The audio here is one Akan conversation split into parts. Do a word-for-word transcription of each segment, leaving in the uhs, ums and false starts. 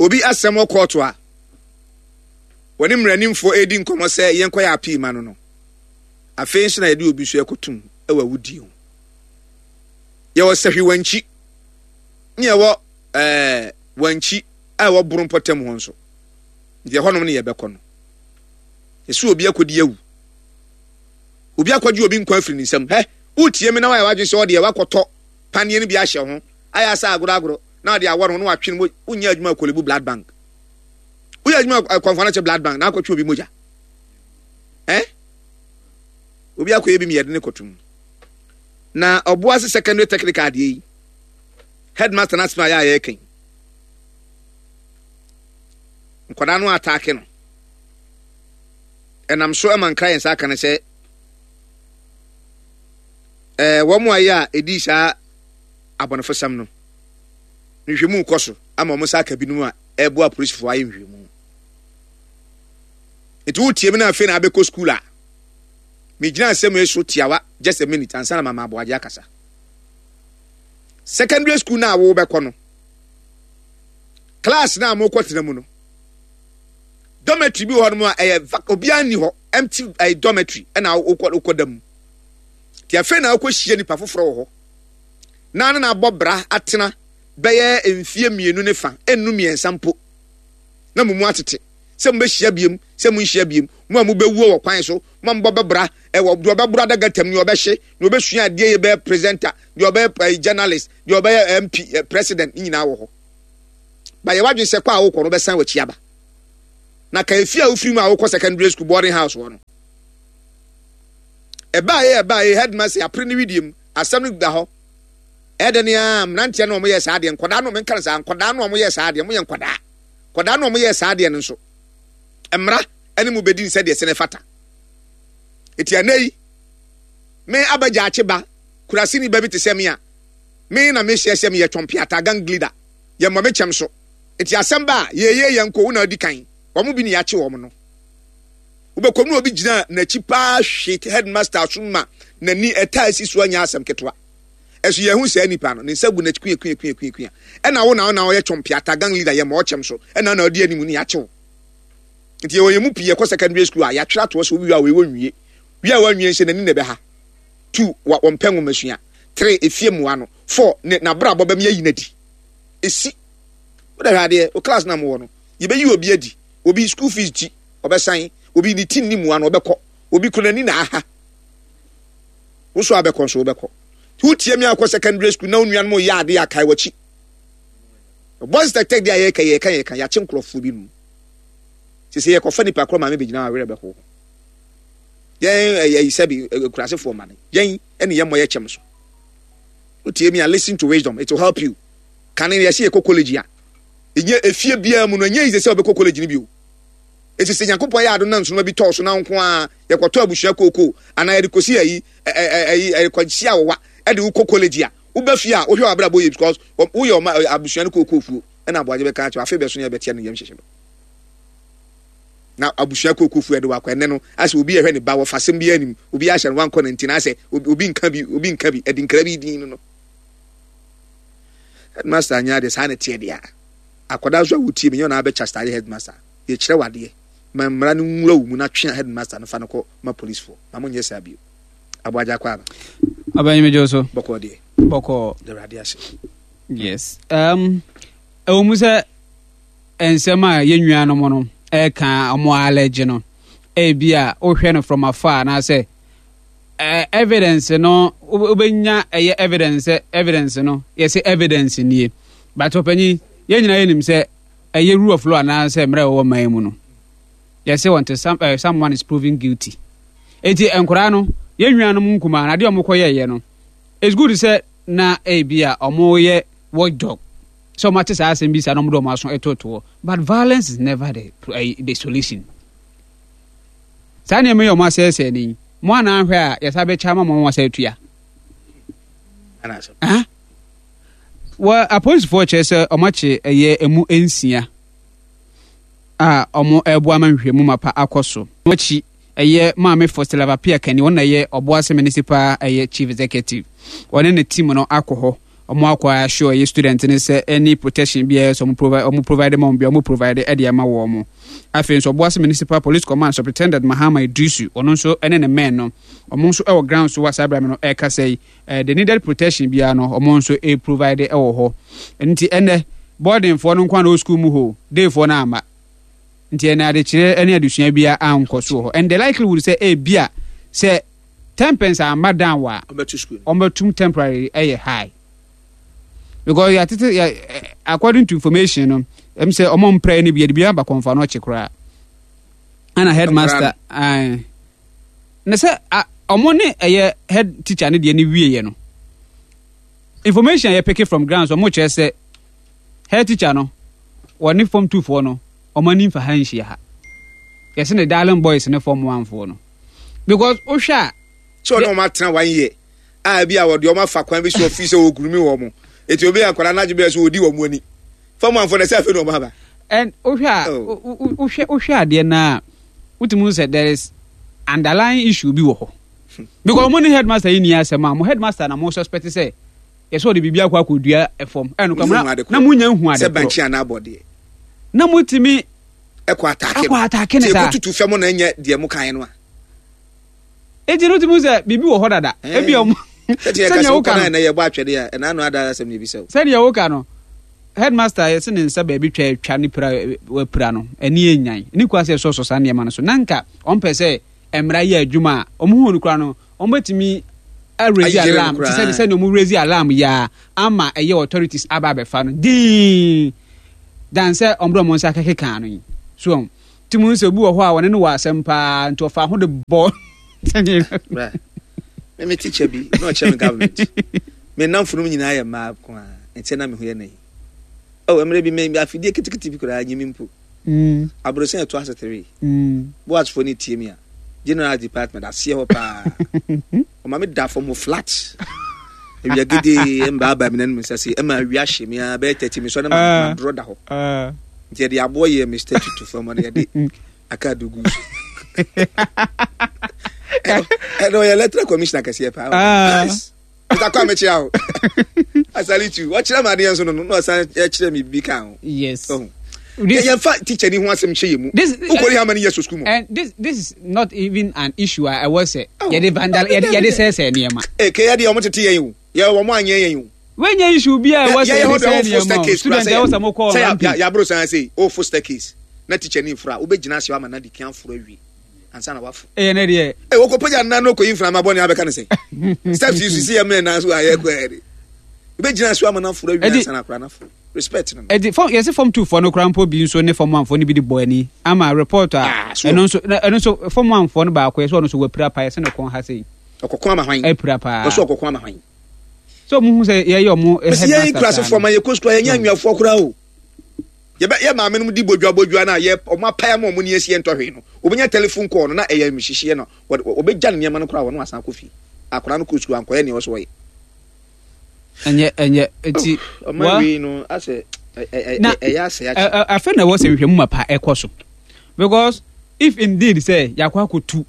Obi asɛm wɔ kɔɔto a wɔne mmaranimfoɔ redi nkɔmmɔ sɛ yɛnkɔyɛ appeal ma no no, afei nso na yɛde obi nso ɛkɔtum wɔ awudie ho. Yɛwɔ Sahwi Wankyi ne yɛwɔ ɛɛ Wankyi a ɛwɔ Boro mpɔtam hɔ nso. Nti ɛhɔnom ne yɛbɛkɔ no. Yɛsɛ obi akɔdi awu. Obi akɔgye obi nkwa afiri ne nsam. Hɛ, wotie me na wayɛ w'adwene sɛ ɔdeɛ wakɔtɔ paneɛ no bi ahyɛ ho, ayɛ asɛ agorɔ agorɔ na ɔde awɔ no ho na watwe no mo, wonyɛ adwuma wɔ Korle-Bu Blood Bank. Woyɛ adwuma wɔ Kɔmfo Anokye Blood Bank na akɔtwe obi mogya. Eh? Obi akɔyɛ bi mmiɛde ne kɔtum. Na Ɔboase Secondary Technical adeɛ yi, headmaster no asɛm a yɛ a yɛreka yi, nkwadaa no ataake no. Ɛnam so ma nkra yɛn nsa aka no sɛ ɛɛ wɔn a yɛ a ɛdii saa abɔnefosɛm no, nhwehwɛmu kɔ so ama wɔn nsa aka binom a ɛreboa apolisifoɔ ayɛ nhwehwɛmu. Nti wotie me na afei na abɛkɔ sukuu a, megyina asɛm yi so tiawa just a minute ansa na mama Aboagye akasa. Secondary school no a wobɛkɔ no, class no a mokɔtena mu no, dormitory bi wɔ hɔ nom a ɛyɛ obiara nni hɔ, empty ɛyɛ dormitory ɛna wokɔ wokɔ da mu. Nti afei na wokɔhyia nipa foforɔ wɔ hɔ na ne na abɔ bra atena bɛyɛ mfie mmienu ne fa, ɛnnu mmiɛnsa mpo, na mo mu atete sɛ mobɛhyia biem sɛ monhyia biem, mo a mobɛwuo wɔ kwan so, mo a mobɛbra ɛwɔ deɛ ɔbɛboro adaga tam, deɛ ɔbɛhye, deɛ ɔbɛsua adeɛ yɛ bɛyɛ presenter, deɛ ɔbɛyɛ journalist, deɛ ɔbɛyɛ M P, president, ne nyinaa wɔ hɔ. Ba yɛ wadwene sɛ kɔ a wokɔ no wobɛsan w'akyi aba. Na ka efie a wofiri mu a wokɔ secondary school boarding house hɔ no. Ɛbaa yɛ ɛbaa yɛ headmaster apere ne widie mu, asɛm no da hɔ. Ɛdɛ ne a mmeranteɛ no wɔyɛ saa adeɛ, nkwadaa no menka no saa, nkwadaa no wɔyɛ saa adeɛ, wɔyɛ nkwadaa. Nkwadaa no wɔyɛ saa adeɛ no nso, mmara ne mu bɛdi nsɛ deɛ sɛ fata. Eti ɛnɛ yi, me abɛgya akye ba, kurasini ba bi te sɛ me a, me na mehyɛ sɛ meyɛ twɔmpeata gang leader, yɛ mmɔ me kyɛm so. Eti asɛm ba a, yɛyɛ yɛn nko, wo na adi kan, wɔn bi ne yɛakye wɔn no. Wobɛkɔm na obi gyina n'akyi paa hwe headmaster so ma n'ani ɛtaa si so anya asɛm ketewa. Ɛso yɛhu saa nipa no, ne nsa gu n'akyi kuya kuya kuya kuya kuya. Ɛna wo na wo na ɔyɛ twɔmpeata gang leader yɛ ma ɔkyɛm so, ɛna na ɔdi anim ne yɛakye wo. Nti yɛwɔ yɛn mu pii yɛkɔ secondary school a yɛatwerɛ atoɔ sɛ obi wie a wei wɔnwie. Wie a wɔnwie nhyɛ n'ani na ɛbɛha. Two, wa wɔmpɛ nwomasua. Three, efie mmoa no. Four, ne n'abrabɔ bɛm yɛyi n'adi. Esi. Wode hwɛ adeɛ, wo class na mowɔ no, yɛbɛyi obi adi. Obi school fees ti, ɔbɛsan. Obi ne ti nni mmoa no, ɔbɛkɔ. Obi kura n'ani na aha. Wo so abɛkɔ nso wobɛkɔ. Wotie me akɔ secondary school na wo nuanom yɛ adeɛ a kae w'akyi. Boys tech tech deɛ a yɛka yɛka yɛka yɛakye nkurɔfoɔ bi nom. Sɛ sɛ yɛkɔfa nipa korɔ maame bɛgyina awerɛ bɛho. Yɛn ɛyɛ sɛbi kurasefoɔ ma no. Yɛn ɛne yɛn mmɔ yɛ kyɛm so. Wotie me a listen to wisdom, it will help you. Kane yɛsɛ yɛkɔ college a. Ɛnyɛ efie biara mu no ɛnyɛ easy sɛ wobɛkɔ college no bio. Esi sɛ Nyankopɔn yɛ adom na nsonoma bi tɔɔ so na nko a yɛkɔtɔ abusua kooko anaa yɛde kɔsi ayi ayi ɛkɔhyia awowa ɛde wokɔ college a woba fie a wohwɛ w'abrabɔ yie because woyɛ ɔma abusua no kooko fuo ɛna aboagye bɛka akyerɛ afei bɛso no yɛbɛteɛ no yam hyehyɛ no na abusua kooko fuo ɛde wakɔ ɛnɛ no asɛ obi ɛhwɛ ne ba wɔfa asɛm bi anim obi ahyɛ no wankɔ ne nti na asɛ obi nka bi obi nka bi ɛde nkra bi din no no headmaster anya adeɛ saa na ɛteɛ deɛ akwadaa nso a wotie me nyɛ ɔna abɛkyɛ style headmaster yɛkyerɛ wadeɛ ma mmara no nwura wo mu na twe a headmaster no fa no kɔ ma policefoɔ ma monyɛ saa bio. Aboagye akɔ aba. Abanyi me so. Bɔkɔɔ deɛ. Bɔkɔɔ. Awurade ase. Yes. Um, ɛwɔ mu sɛ nsɛm a yɛn nuanom no ɛka ɔmo alɛgye no ebi a wohwɛ no from afar anaasɛ uh, evidence no wobɛnya ɛyɛ evidence sɛ evidence no yɛsɛ evidence nie but ɔpanyin yɛn nyinaa yɛnim sɛ ɛyɛ rule of law anaasɛ mmerɛ ɛwɔ man mu no yɛsɛ until some, uh, someone is proven guilty. Eti nkoraa no yɛn nuanom nkumaa na adeɛ ɔmo kɔ yɛyɛ no it's good sɛ na ebi a ɔmo yɛ watchdog sɛ ɔmo ate saa asɛm bi saa na ɔmo de ɔmo aso ɛtotoɔ but violence is never the, uh, the solution. Saa nneɛma yi ɔmo asɛesɛe ne mo anan hwɛ a yɛsa bɛkyɛ ama mo asa atua. Ah wɔ apolisifoɔ kyerɛ sɛ ɔmo akye ɛyɛ emu nsia a ɔmo ɛboa ma nhwehwɛmu mapa akɔ so. Akyi ɛyɛ maame Faustina Appiah Kani, wɔn na ɛyɛ Ɔboase Municipal ɛyɛ chief executive, wɔne ne team no akɔ hɔ. Ɔmo akɔ assure ɛyɛ student ne sɛ any protection biara sɛ ɔmo provide ɔmo provide ma ɔmo bi, ɔmo provide ɛde ama wɔn mo. Afei nso, Ɔboase Municipal Police Command Superintendent Mahama Idrisu, ɔno nso ɛne ne men no, ɔmo nso ɛwɔ ground so wɔ saa abirame no ɛrekasa yi, ɛɛ the needed protection biara no, ɔmo nso ɛ provide ɛwɔ hɔ. Nti ɛnɛ boardingfoɔ no nko na wɔ school mu hɔ, dayfoɔ no ama, nti ɛnɛ adekyerɛ ne adesua biara ankɔ so wɔ hɔ, and the likelihood sɛ ebia sɛ tempers amma down wɔ a ɔbɛto school no. Ɔmbɛtum temporary ɛyɛ high because yɛatete yɛ ɛ- according to information no, ɛm sɛ ɔmo mpra no bi, yɛde bi aba kɔnfa no ɔkye koraa, ɛna headmaster ae na sɛ a- ɔmo ne ɛyɛ head teacher ne deɛ ne wieɛ no, information a yɛpick from ground so, ɔmo kyerɛ sɛ head teacher no, wɔne form two foɔ no, ɔmo ani mfa ha nhyia ha. Yɛsɛ ne darling boys ne form one foɔ no, because wohwɛ a sɛ ɔne ɔmo atena one year a, bi a wɔde ɔmo afa kwan bi so ɔfi sɛ ɔgurumi wɔ mo, eti obi yɛ akwadaa n'agye bi sɛ ɔdi wɔn ani fam anfo na sɛ afei na ɔmo aba. And wohwɛ a Oh. wo- wo- wohwɛ wohwɛ adeɛ no a, wotumi hu sɛ there is underlying issue bi wɔ hɔ, because ɔmo ne headmaster yi ni asɛm a mo headmaster na mo suspect sɛ yɛsɛ ɔde biribi akɔ akɔdua ɛfam ɛno Mo hu ade na monya hu ade sɛ korɔ bankye anaa abɔdeɛ na motumi ɛkɔ attack no. Akɔ attack ne Sɛ saa. ɛkɔtutu fam na ɛnyɛ deɛ mo kan no a. Enti no wotumi hu sɛ biribi wɔ hɔ dada. Eh. Ebi ɔmo sɛdeɛ ɛka sɛnea sɛ woka wokɔ no no ɛnɛ yɛbɔ atwɛdeɛ a, ɛna ano ada asɛm ne ebisa wo. Sɛdeɛ woka no, headmaster yɛsɛ ne nsa baabi twa atwa ne pira, wapira no ɛne ɛnyan ne kwa sɛ ɛsɔsɔ saa nneɛma no so, na nka ɔmpɛ sɛ mmara yɛ adwuma a ɔmo hu no koraa no, ɔmo bɛtumi araise Ayere no alarm te koraa. sɛ sɛdeɛ ɔmo raise alarm yia ama ɛyɛ authorities aba abɛfa no dii dan sɛ ɔmo de ɔmo nsa kɛkɛ no yi so, ɔmo ti mu sɛ obi wɔ hɔ a wɔne no wɔ asɛm paa, nti ɔfa ho de bɔ sɛdeɛ Bra. Me me teacher bi na ɔkyerɛ me government. Me namfo no nyinaa yɛ mmaa ko a, nti na me ho yɛ na yi. Oh, mmerɛ bi me afidie ketekete bi koraa nye me mpo. Mm, Aborɔsan ɛto ase three. mm. Boasfoɔ ne tie mi a. General department aseɛ hɔ paa. Ɔma me da fam hɔ flat. Awia gede mbaaba mi nanom nsa se ɛma awia hye me a bɛyɛ thirty mi so na ma Ah. ma dorɔ da hɔ. Ah. Nti yɛde aboɔ yɛ me statue to fam na yɛde aka do gu so. Ɛnna ɔyɛ electoral commissioner kɛseɛ paa. Ah. Yes. Mister Kwame kyia o. I salute you. Wɔkyerɛ me adeɛ nso no no na ɔsan kyerɛ me bi ka ho. Yes. Ɔho. This- Yɛmfa teacher ni ho asɛm hyɛ yɛ mu. This- Wokɔri how many years of school mu? And this this is not even an issue a ɛwɔ sɛ Oh. yɛde vandal yɛde yɛde sɛɛsɛɛ nneɛma. Eh, kɛ yɛ deɛ ɔmo tete yɛn o. Yɛ wɔn anyɛ yɛn o. Wɛnyɛ issue bi a ɛwɔ sɛ Yɛ yɛ yɛde hɔ de sɛɛ ɔmo fo nneɛma o. staircase Student ɛwɔ sɛ mo kɔ sɛ rampage. yaboro san se ɔfo staircase na teacher ni nfura wobɛgyina ase ama na di kan foro awie ansa na wafo. Ɛyɛ ne deɛ. Ɛ wɔkɔ pagya nnan no kɔyi mframa bɔ ne abɛka ne sɛ steps yi so si yɛ mmerɛ nan so a yɛkɔ yɛ de wobɛgyina ase ama no aforo awie Ɛdi- ansa na akora no aforo, respect no no. Ɛdi fɔm yɛsi form two foɔ no koraa mpo bi nso ne form one foɔ no bi de bɔ ani ama report a Ah, so- ɛno nso na- ɛno nso form one foɔ no baako yɛ sɛ ɔno nso wapira paa, yɛsɛ ne kɔn ha sɛ Ɔkɔkɔ ama hwan? Apira paa. Ɔso ɔkɔkɔ ama hwan? Sɛ ɔmo hu sɛ yɛyɛ ɔmo Mesi yɛn headmaster nkurasefoɔ saa ma no. yɛkɔ sukuu a, yɛnyɛ anwiafoɔ koraa o. Yɛbɛ yɛ maame no di bodua bodua no a yɛ ɔmo apae ama ɔmo ni esi yɛn ntɔhwee no, obɛnya telephone call no na ɛyɛ mhyehyeɛ no, wɔde ɔbɛgya ne nneɛma no koraa, wɔn asan akɔ fie. Akwadaa no kɔ sukuu ankɔyɛ nea ɔsɔ ɔyɛ. Ɛnyɛ ɛnyɛ eti Ɔman wa- wei no asɛ ɛ ɛ Na- ɛ ɛyɛ asɛ ɛ- akyɛ. ɛ- afei na ɛwɔ sɛ nhwehwɛmu ma pa ɛkɔ so, because if indeed sɛ yɛakɔ akɔtu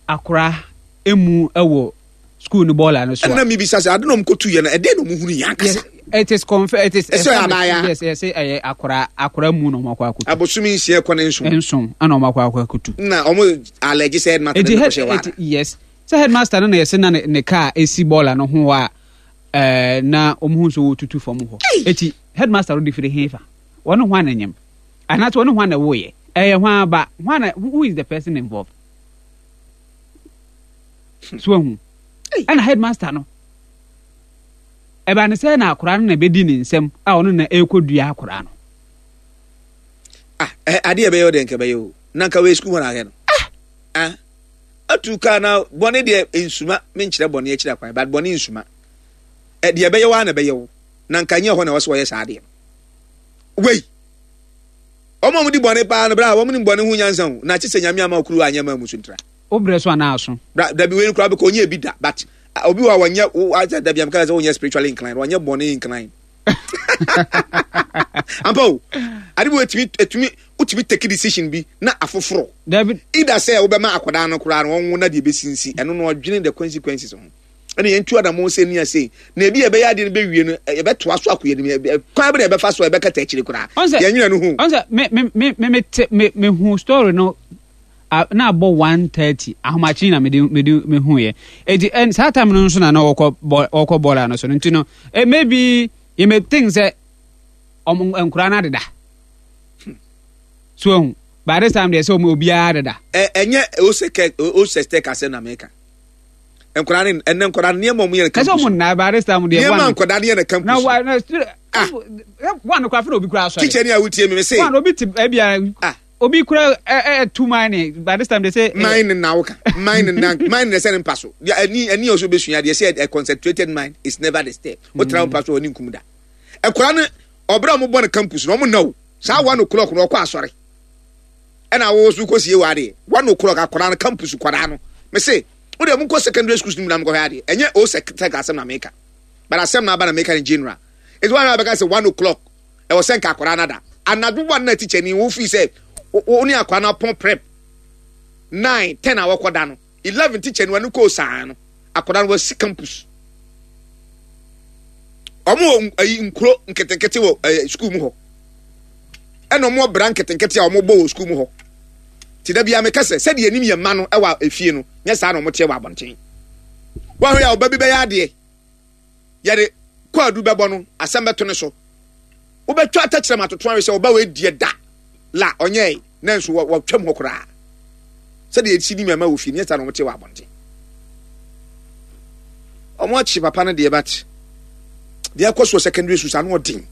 akora emu ɛwɔ school no bɔɔla no so a Ɛna mi bisa sɛ ade na ɔmo kɔtu yɛ no, ɛdɛn na ɔmo hunu yɛ ankasa? Yes, it is confirm, it is Ɛsɛ ɔyɛ abaayewa. Yes, yɛsɛ ɛyɛ akora akora mu na ɔmo akɔ akɔtu. Abosomi nsia kɔ ne nson. Nson ɛna ɔmo akɔ akɔ akɔtu. Na ɔmo allege sɛ headmaster Eti ne head kɔhyɛ wɔ eti yes, sɛ headmaster no na yɛsɛ na ne ne car esi bɔɔla no ho a ɛɛ na ɔmo hu nso wɔtutu fam hɔ. Eti headmaster no de firi he fa wɔne ho ananyam anaasɛ wɔne ho ana wɔyɛ ɛyɛ ho aba ho ana, who is the person involved so ehu? Ɛna headmaster no ɛba ne sɛ na akora no na ebedi ne nsam a ɔno na ɛrekɔ akora no. Ah, ɛ adeɛ ɛbɛyɛ o deɛ nka ɛbɛyɛ o, na nka wei sukuu hɔ na ahwɛ no. Ah, atu kaa na bɔne deɛ nsuma menkyerɛ bɔne akyiri akwan, but bɔne nsuma. Ɛ deɛ ɛbɛyɛ wo a na ɛbɛyɛ wo, na nka nyɛ hɔ na ɛwɔ sɛ wɔyɛ saa adeɛ no. Wei ɔmo a ɔmo di bɔne paa no, bra, wɔn ni bɔne ho nyansa o, na kye sɛ Nyame ama okuru anyɛ ma mu so ntra. Wobrɛ so anaa so? Bra, dabi, wei koraa bɛkɔ ɔnyɛ bi da, but ah, obi wɔ a wɔnyɛ wo asɛ dabi amka sɛ wonyɛ spiritually inclined, wɔnyɛ bɔne inclined ampa o. Ade bi wɔ etumi etumi wotumi take decision bi na afoforɔ Dabi. Either sɛ wobɛma akwadaa no koraa no ɔnwo na deɛ ɛbɛsinsi ɛno no, ɔdwene the consequences ho. Ɛna yɛntu anammɔn sɛ ni ase na ebi yɛbɛyɛ adeɛ no bɛwie no, yɛbɛtoa so akɔ yɛnim kwan bɛ na yɛbɛfa so a yɛbɛkata akyire koraa. Yɛnwene no ho. Ɔnsɛ me me me me me te me me hu story no na abɔ one thirty ahomakye na me de me de me hu yɛ. Eti ɛn saa time no nso na na ɔkɔ bɔ ɔkɔ bɔɔla no so no, nti no eh, maybe you may think sɛ ɔmo nkura no adeda. So ehu by this time deɛ sɛ ɔmo obiara adeda. Ɛ ɛnyɛ ose kɛ ose tɛ kasɛ na meka. Nkwadaa ne ɛnɛ nkwadaa nneɛma ɔmo yɛ no campus. Ɛsɛ ɔmo nna by this time deɛ. Nneɛma nkwadaa ne yɛ no campus. Na wa na ah one kura fɛn obi kura asɔre. Teacher ni a wotie mi mi se. One obi ti ebi a. Ah obi kura ɛ ɛ two mine by this time they say. Mine na woka mine na mine na sɛ ne mpa so ɛni ɛni ɔso bɛ sua deɛ sɛ a concentrated mind is never disturbed. O tena mpa so ɔni nkum da. Nkwadaa no ɔbɛrɛ ɔmo bɔ no campus na ɔmo na o saa one o'clock na ɔkɔ asɔre ɛna awo so kɔ sie wɔ adeɛ one o'clock akwadaa no campus kwadaa no mɛ se o de mo nkɔ secondary schools no mu na mo kɔhwɛ adeɛ. Ɛnyɛ o sɛ tɛ asɛm na meka, but asɛm na aba na meka in general. Etu wɔn a bɛka sɛ one o'clock ɛwɔ sɛ nka akwadaa no ada anadwo one na teacher ni wo fi sɛ wo ne akwadaa no apɔn prep nine ten a wɔkɔ da no eleven, teacher ni wɔn kɔ saa no akwadaa no wɔsi campus. Wɔn wɔ ayi nkuro nketenkete wɔ ɛɛ school mu hɔ, ɛna wɔn wɔ bra nketenkete a wɔn bɔ wɔ school mu hɔ. Ti da bia meka sɛ sɛdeɛ anim yɛ mma no ɛwɔ efie no, nyɛ saa na wɔn teɛ wɔ abɔnten. Wɔn ahwɛ a ɔba bi bɛyɛ adeɛ yɛde kɔɔdu bɛbɔ no, asɛm bɛto ne so, wobɛtwa atɛkyerɛ ma atoto ahwɛ sɛ ɔba wɔ ediɛ da la ɔnyɛ na nso wɔtwam hɔ koraa. Sɛdeɛ esi ni mɛma wɔ fie nyɛ saa na wɔn te wɔ abɔnten. Wɔn akyi papa no deɛ, but deɛ ɛkɔ so wɔ secondary school saa no ɔden.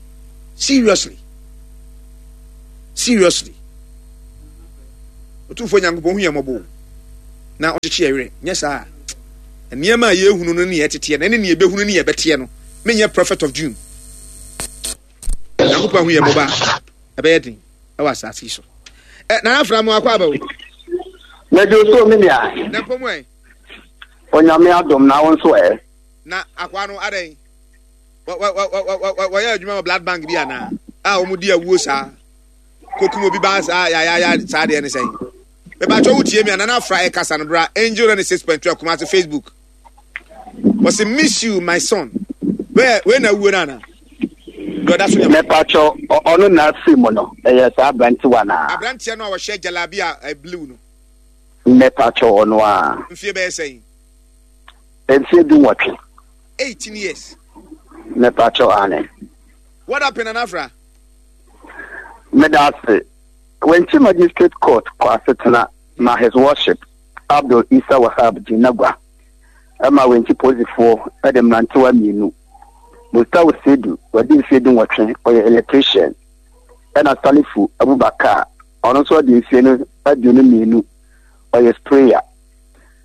Seriously, seriously, Otumfoɔ Nyankopɔn hu yɛn mmɔbɔ na ɔkyekye yɛn werɛ. Nyɛ saa nneɛma a yɛhunu no ne yɛteteɛ no ɛne ne yɛbɛhunu ne yɛbɛteɛ no, menyɛ prophet of doom. Nyankopɔn hu yɛn mmɔbɔ a, ɛbɛyɛ den ɛwɔ asase yi so. Ɛ Nana Afra mu akɔ aba o. Mɛdi so mi nua. Na mpɔ mu ɛ. Onyame adom na wo nso ɛ. Na akwa no adɛn, wɔyɛ adwuma wɔ blood bank bi anaa a wɔn di awuo saa kokum obi ba saa yayaya saa deɛ ne sɛn? Mebatwa wo tie mi a Nana Afra ɛkasa no bra Angel ninety six point two Kumasi Facebook. Wɔsi miss you my son. Wei wei na awuo no ana deɛ ɔda so nyɛ. Mepatwɔ, ɔno na afiri mu no, ɛyɛ saa aberantewa na. Aberanteɛ no a wɔhyɛ jalabi a blue no. Mepatwɔ, ɔno a. Mfie bɛyɛ sɛn? Mfie du nwɔtwe. Eighteen years. Mepatwɔ, ane. What happened, Nana Afra? Meda ase. Wenchi Magistrate Court kɔ asetena ma His Worship Abdul Isa Wahab Jinagwa ɛma Wenchi polisifoɔ de mmerantewa mmienu, Mustawu Seidu, wadi mfeɛ du nwɔtwe, ɔyɛ electrician, ɛna Salifu Abubakar, ɔno nso adi mfeɛ no aduonu mmienu, ɔyɛ sprayer.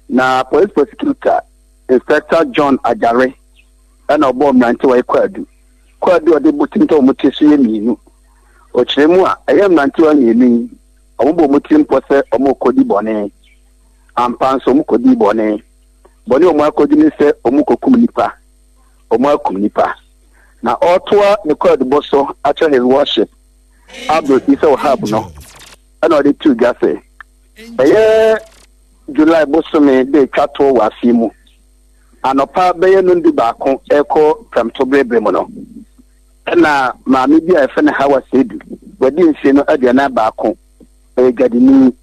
Na police prosecutor Inspector John Ajare ɛna ɔbɔɔ mmerantewa yi kwaadu. Kwaadu a ɔde bɔ tim tɔ wɔn ti so yɛ mmienu. Ɔkyerɛ mu a, ɛyɛ mmerantewa mmienu yi, wɔn bɔ wɔn tirim pɔ sɛ wɔrekɔdi bɔne. Ampa nso wɔn kɔdii bɔne. Bɔne a wɔn akɔdi ne sɛ wɔn kɔkum nipa. Wɔn akum nipa. Na ɔretoa ne kwaadubɔ so akyerɛ His Worship Abdul Isa Wahab no, ɛna ɔde too dwa sɛ ɛyɛ July bosome de twa toɔ wɔ afe mu anɔpa bɛyɛ nondu baako ɛkɔ prɛmtoberɛberɛ mu no, ɛna maame bi a yɛfrɛ no Hawa Seidu, wadi mfeɛ no aduanan baako, ɛyɛ dwadini,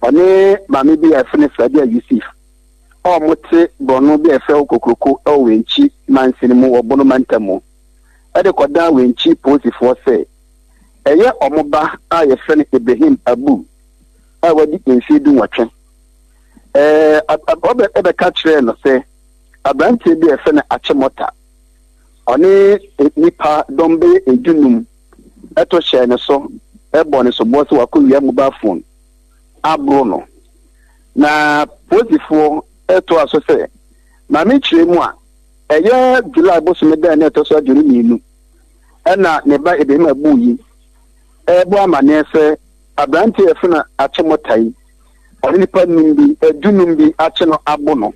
ɔne maame bi a yɛfrɛ no Sradia Yusuf a wɔte borɔno bi a yɛfrɛ hɔ Kokroko ɛwɔ Wenchi mansini mu wɔ Bono mantam mu, ɛde kɔdaa Wenchi polisifoɔ sɛ ɛyɛ ɔmo ba a yɛfrɛ no Ibrahim Abu a wadi mfeɛ du nwɔtwe. Ɛɛ ɔbɛ ɛbɛka kyerɛɛ no sɛ aberanteɛ bi a yɛfrɛ no Akyemɔta, ɔne nipa dɔm bɛyɛ edunum ɛto hyɛɛ ne so ɛbɔ ne soboɔ sɛ wakɔwia mobile phone aboro no. Na polisifoɔ ɛtoa so sɛ maame kyerɛ mu a, ɛyɛ July bosome da na ɛtɔ so aduonu mmienu, ɛna ne ba Ibrahim Abu yi ɛrebɔ amanneɛ sɛ aberanteɛ a yɛfrɛ no Akyemɔta yi, ɔne nipa num bi, edunum bi akye no abo no,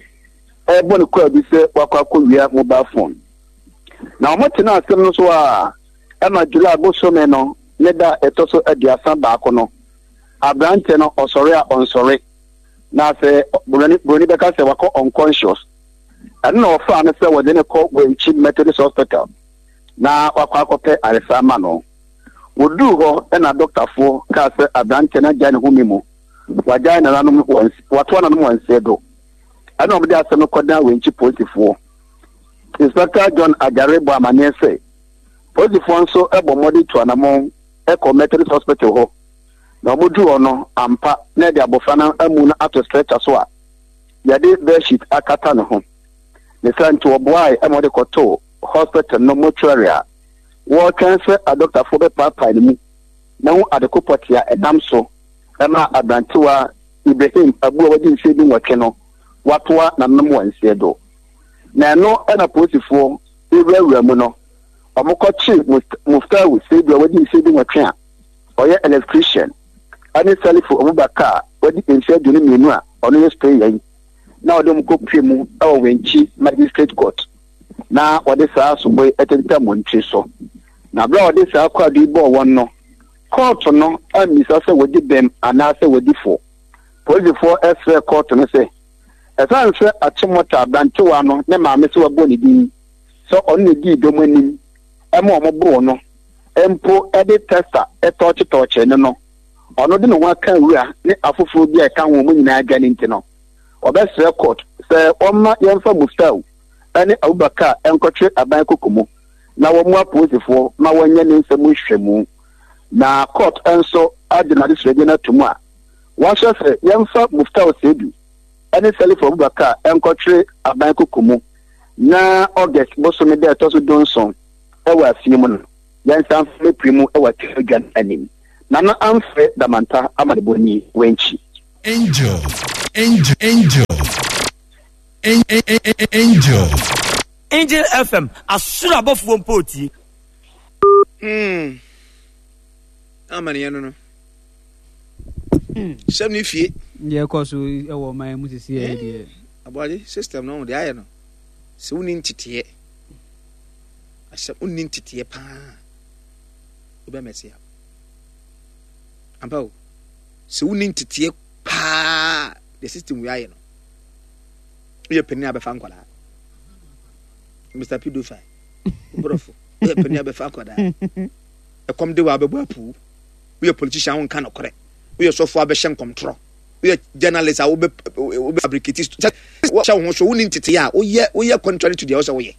ɛrebɔ no kwaadu sɛ wakɔ akɔwia mobile phone. Na wɔn tena asɛm no so a, ɛma July bosome no ne da ɛtɔ so aduasa baako no, aberanteɛ no ɔsɔre a ɔnsɔre, na sɛ buroni buroni bɛka sɛ wakɔ unconscious. Ɛno na wɔfaa no sɛ wɔde no kɔ Wenchi Methodist Hospital na wakɔ akɔpɛ ayaresa ama no. Wɔduu hɔ na dɔktafoɔ kaa sɛ aberanteɛ no agyae ne home mu, wagyae nananom wɔ watoa nananom wɔ nseɛ do. Ɛna wɔde asɛm no kɔdan Wenchi polisifoɔ. Inspector John Agyare bɔ amanneɛ sɛ polisifoɔ nso bɔ mmɔden tu anammɔn kɔ Methodist Hospital hɔ, na wɔduu hɔ no, ampa na yɛde abɔfra no amu no ato stretcher so a yɛde bedsheet akata ne ho. Ne saa nti wɔboae ma wɔde kɔtoo hospital no mortuary a wɔretwɛn sɛ adɔktafoɔ bɛpaapae ne mu na hu adeko pɔtee a ɛnam so ma aberantewa Ibrahim Abu a wadi mfeɛ dunwɔtwe no watoa n'anom wɔ nseɛ do. Na ɛno na polisifoɔ rewurawura mu no, wɔkɔkyee Muftahu Seidu a wadi mfeɛ dunwɔtwe a ɔyɛ electrician ne Salifu Abubakar a wadi mfeɛ aduonu mmienu a ɔno yɛ sprayer yi na wɔde wɔn kɔpue mu wɔ Wenchi Magistrate Court na wɔde saa sobo yi tentam wɔn tiri so. Na berɛ a wɔde saa kwaadu yi bɔɔ wɔn no, kɔɔto no ammisa sɛ wɔdi bem anaasɛ wɔdi fɔ. Polisifoɔ srɛɛ kɔɔto no sɛ, ɛsiane sɛ Achimota aberantewa no ne maame sɛ wɔabɔ ne din sɛ ɔno na ɛdii dɔm anim ma wɔboroo no mpo de testa tɔɔkyetɔɔkyee no no, ɔno de ne ho aka wura ne afoforɔ bi a ɛka ho wɔn nyinaa dwane nti no, wɔbɛsrɛ court sɛ wɔmma yɛmfa Muftau ne Abubakar nkɔtwere aban koko mu na wɔmmoa apolisifoɔ ma wɔnyɛ ne nsɛm mu nhwehwɛmu. Na court nso agye n'adesrɛdeɛ no ato mu a wɔahyɛ sɛ yɛmfa Muftau Seidu ne Salifu Abubakar nkɔtwere aban koko mu na August bosome da a ɛtɔ so dunson wɔ afie mu no, yɛnsan mfa mmɛpue mu wɔ atemmu-adwa no anim. Nana Amfre Damanta amanebɔni, Wenchi. Angel, angel, angel, angel. Angel F M, asoro abɔfoɔ mpo tie. Hmm. Amanneɛ no no. Sɛm ne fie. Deɛ ɛkɔ so wɔ ɔman mu sisi yɛ deɛ. Aboagye system no deɛ ayɛ no sɛ wonni nteteɛ asɛm wonni nteteɛ paa wobɛmɛse a ampa o, sɛ wonni nteteɛ paa, the system wei ayɛ no, woyɛ panin a bɛfa nkwadaa, Mister Pedophile borɔfo, woyɛ panin a bɛfa nkwadaa, ɛkɔm de wa bɛbɔ apuu, woyɛ politician wonka nokorɛ, woyɛ sɔfo a bɛhyɛ nkɔmtorɔ, woyɛ journalist a wobɛ wobɛ fabricate sɛ wɔhyɛ wo ho so, wonni nteteɛ a woyɛ woyɛ contrary to deɛ wɔsɛ woyɛ.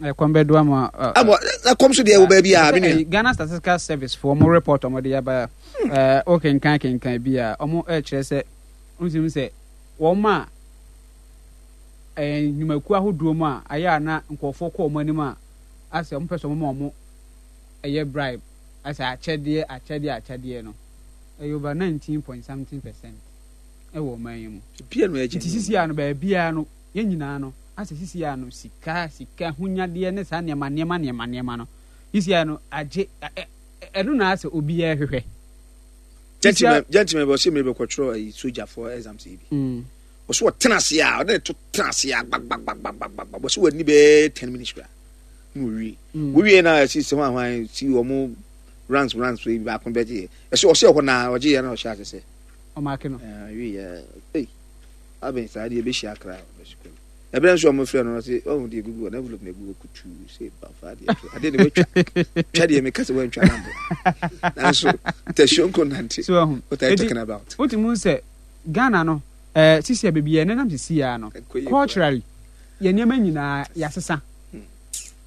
Ɛkɔm bɛdo ama. Ama ɛkɔm so deɛ wɔ baabi a me nua. Ghana Statistical Service foɔ ɔmo report ɔmo de aba, ɛɛ wokenkan kenkan bi a, ɔmo ɛkyerɛ sɛ ntumi sɛ wɔn a ɛɛ nnwumakuo ahodoɔ mu a ayɛ a na nkurɔfoɔ kɔ wɔn anim a asɛ ɔmo pɛ sɛ ɔmo ma ɔmo ɛyɛ bribe, asɛ akyɛdeɛ akyɛdeɛ akyɛdeɛ no, ɛyɛ over nineteen point something percent ɛwɔ ɔman yi mu. Bia no ɛgye. Nti sisi a no baabiara no yɛn nyinaa no asɛ sisi a no sika sika hunyadeɛ ne saa nneɛma nneɛma nneɛma nneɛma no sisi a no agye ɛno na asɛ obiara hwehwɛ. Gentleman, gentleman bɛ ɔsɛ mmiri bɛ kɔtwerɛ ayi sogyafoɔ exams yi bi. Ɔsɛ ɔtena ase a ɔde ne to tena ase a gbagbagbagbagbagba ɔsɛ wani bɛɛ ten minutes kura na owie. Wowie na ɛsi sɛ hwan hwan si wɔn ranks ranks yi baako bɛ gye yɛ ɛsɛ ɔsɛ ɛhɔ na ɔgye yɛ na ɔhyɛ ase sɛ. Ɔmaake no. Ɛɛ wie yɛ ɛy abɛn saa deɛ ebehyia akra ɔbɛsi kɔ. Ɛbɛrɛ nso ɔmo frɛ no ɔsɛ ɔmo deɛ egugu hɔ na envelope na egu hɔ kutuu sɛ bafa adeɛ to adeɛ na watwa twa deɛ meka sɛ wantwa na mbɔ nanso tɛsuo nko nante. So ɛho. What are you talking about? Wotumi sɛ Ghana no ɛɛ sisi a beebi yɛn nenam sisi ya no, culturally yɛn nneɛma nyinaa yɛasesa,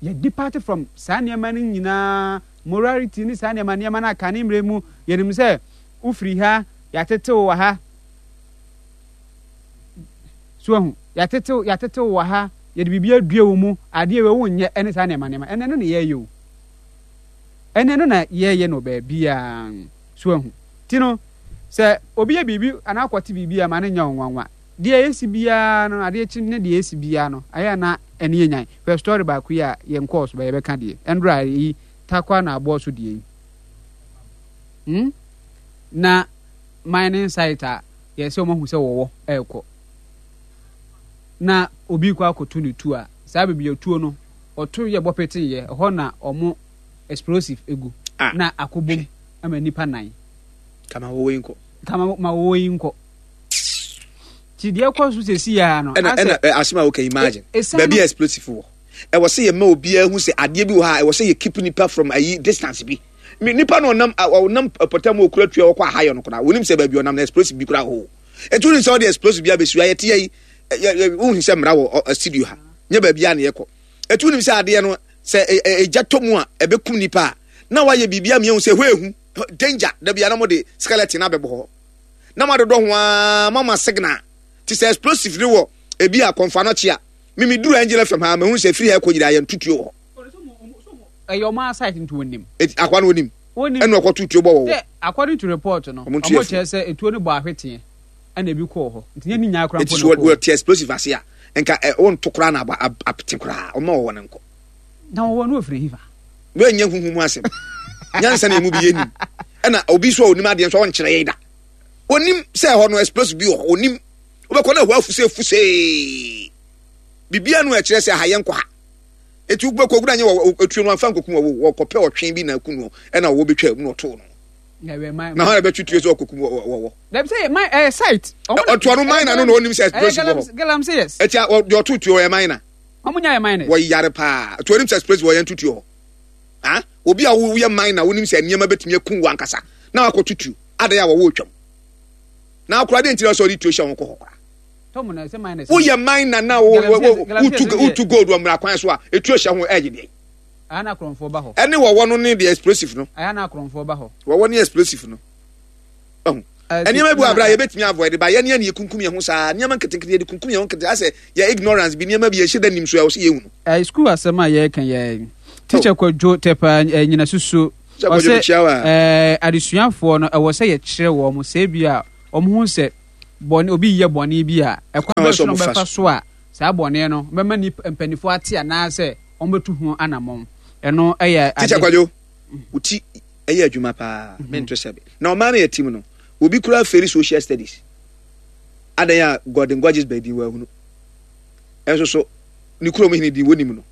yɛ depart from saa nneɛma no nyinaa, morality ne saa nneɛma nneɛma no aka ne mmerɛ mu. Yɛnim sɛ wofiri ha, yɛatetew wɔ ha, so ahu, yɛatetew yɛatetew wɔ ha, yɛde biribi adua wɔ mu, adeɛ wei wonyɛ ɛne saa nneɛma nneɛma ɛnɛ no na yɛyɛ o, ɛnɛ no na yɛyɛ no baabiara so ahu. Ti no sɛ obi yɛ biribi anaa akɔte biribi a ma no nyɛ wo nwanwa. Deɛ ɛsi biara no, adeɛ kyi ne deɛ ɛsi biara no, ayɛ na ɛne yɛ nyan. Hwɛ story baako yi a yɛn kɔɔ so bɛ yɛbɛka deɛ ɛndora yi takwa na aboɔ so deɛ yi hmm? Na mining site a yɛsɛ wɔn ahu sɛ wɔwɔ ɛrekɔ na obi kɔ akɔto ne tuo a, saa baabi a tuo no ɔto yɛ bɔ pete yɛ ɛhɔ na wɔn explosive egu ah. na akɔbom ama nipa nan. Kama wɔwɔ yi nkɔ. Kama ma wɔwɔ yi nkɔ. Ti deɛ kɔ so sɛ si ya no. Ɛna ɛna asɛm a woka, imagine baabi a explosive wɔ, ɛwɔ sɛ yɛma obiara hu sɛ adeɛ bi wɔ ha, ɛwɔ sɛ yɛ keep nipa from ayi distance bi. Nipa no ɔnam ɔnam pɔtɛ mu okura tua ɔkɔ ahayɔ no koraa, wɔnim sɛ baabi ɔnam na explosive bi koraa hɔ. Etu ni sɛ ɔde explosive bi abɛsi ayɛ te yɛ yi, wohu sɛ mmara wɔ studio ha, nyɛ baabi a na yɛkɔ. Etu nim sɛ adeɛ no sɛ egya tɔ mu a ɛbɛkum nipa a, na wayɛ biribi a mmiɛnhu sɛ hɔ ehu danger. Dabi a na mo de skeleton abɛbɔ hɔ na mo adodɔ ho aa mama signal te sɛ explosive ne wɔ ebi a kɔnfa no kye a mimi duru Angel F M ha, mehu sɛ firi ha ɛkɔ nyinaa yɛ ntutuo wɔ hɔ. Ɛyɛ ɔmo asite nti wɔnim. Eti akwa no wɔnim. Ɛna ɔkɔ tutuo bɔ wɔ hɔ. According to report no, ɔmo kyerɛ sɛ etuo no bɔ ahweteɛ ɛna ebi kɔɔ hɔ nti nyɛ ne nyinaa koraa mpo na kɔɔ. Eti so wɔte explosive ase a nka ɛ wɔnto koraa na aba apete koraa ɔmo wɔ wɔn nkɔ. Na wɔwɔ no ofiri hifa. Wɔnyɛ huhu mu asɛm nyansa na emu bi yɛ nim, ɛna obi so a onim adeɛ nso ɔnkyerɛ yɛn da. Onim sɛ ɛhɔ no explosive bi wɔ hɔ, onim wobɛkɔ na ɛhɔ afuse fusee biribiara no ɛkyerɛ sɛ aha yɛn kɔ ha. Eti wobɛkɔ ogura nyɛ wɔ etuo no anfa nkokum wɔ wɔkɔpɛ ɔtwe bi na aku no, ɛna wɔwɔ betwa mu na ɔtoo no na hɔn ɛbɛtwe tuo sɛ ɔkɔkum wɔwɔ. Dabi sɛ my ɛyɛ site. Ɔtoa no mine no na onim sɛ explosive wɔ hɔ. Galamsey, yes. Eti deɛ ɔto tuo ɔyɛ mine. Ɔmo nya yɛ miners. Wɔyare paa. Tuo onim sɛ explosive wɔ yɛn tutuo hɔ. Ha, obi a woyɛ mine na wonim sɛ nneɛma bɛtumi akum wɔ ankasa na wakɔ tutuo adan a wɔwɔ otwam na akora de ntina sɛ ɔde tuo hyɛ wɔn kɔ hɔ koraa. Woyɛ mine na wotu wotu gold wɔ mmara kwan so a etuo hyɛ ho ɛyɛ deɛ. Ɛne wɔwɔ no ne deɛ explosive no. Wɔwɔ ne explosive no. Nneɛma bi wɔ abira yɛbɛtumi avoid ba yɛn yɛn kunkum yɛn ho saa nneɛma nketenkete yɛde kunkum yɛn ho nkete asɛ yɛ ignorance bi nneɛma bi yɛhyɛ da nim so a wɔsɛ yɛhu no. Ɛɛ sukuu asɛm a yɛreka yɛ teacher Kwadwo Tɛpa nyina susu ɔsɛ ɛɛ adesuafoɔ no ɛwɔ sɛ yɛkyerɛ wɔn sɛ ebi a wɔn ho sɛ bɔne obi yɛ bɔne bi a ɛkwan bɛ so na wɔbɛfa so a saa bɔne no bɛma nipa mpanimfoɔ ate anaasɛ wɔn bɛtu ho anammɔn ɛno ɛyɛ ade. Teacher Kwadwo wo ti ɛyɛ adwuma paa mento sɛbe na ɔman no yɛ team no obi kura feri social studies adan a Gordon Gorges baabi wɔ ahunu ɛnso so ne kurom hene din wɔnim no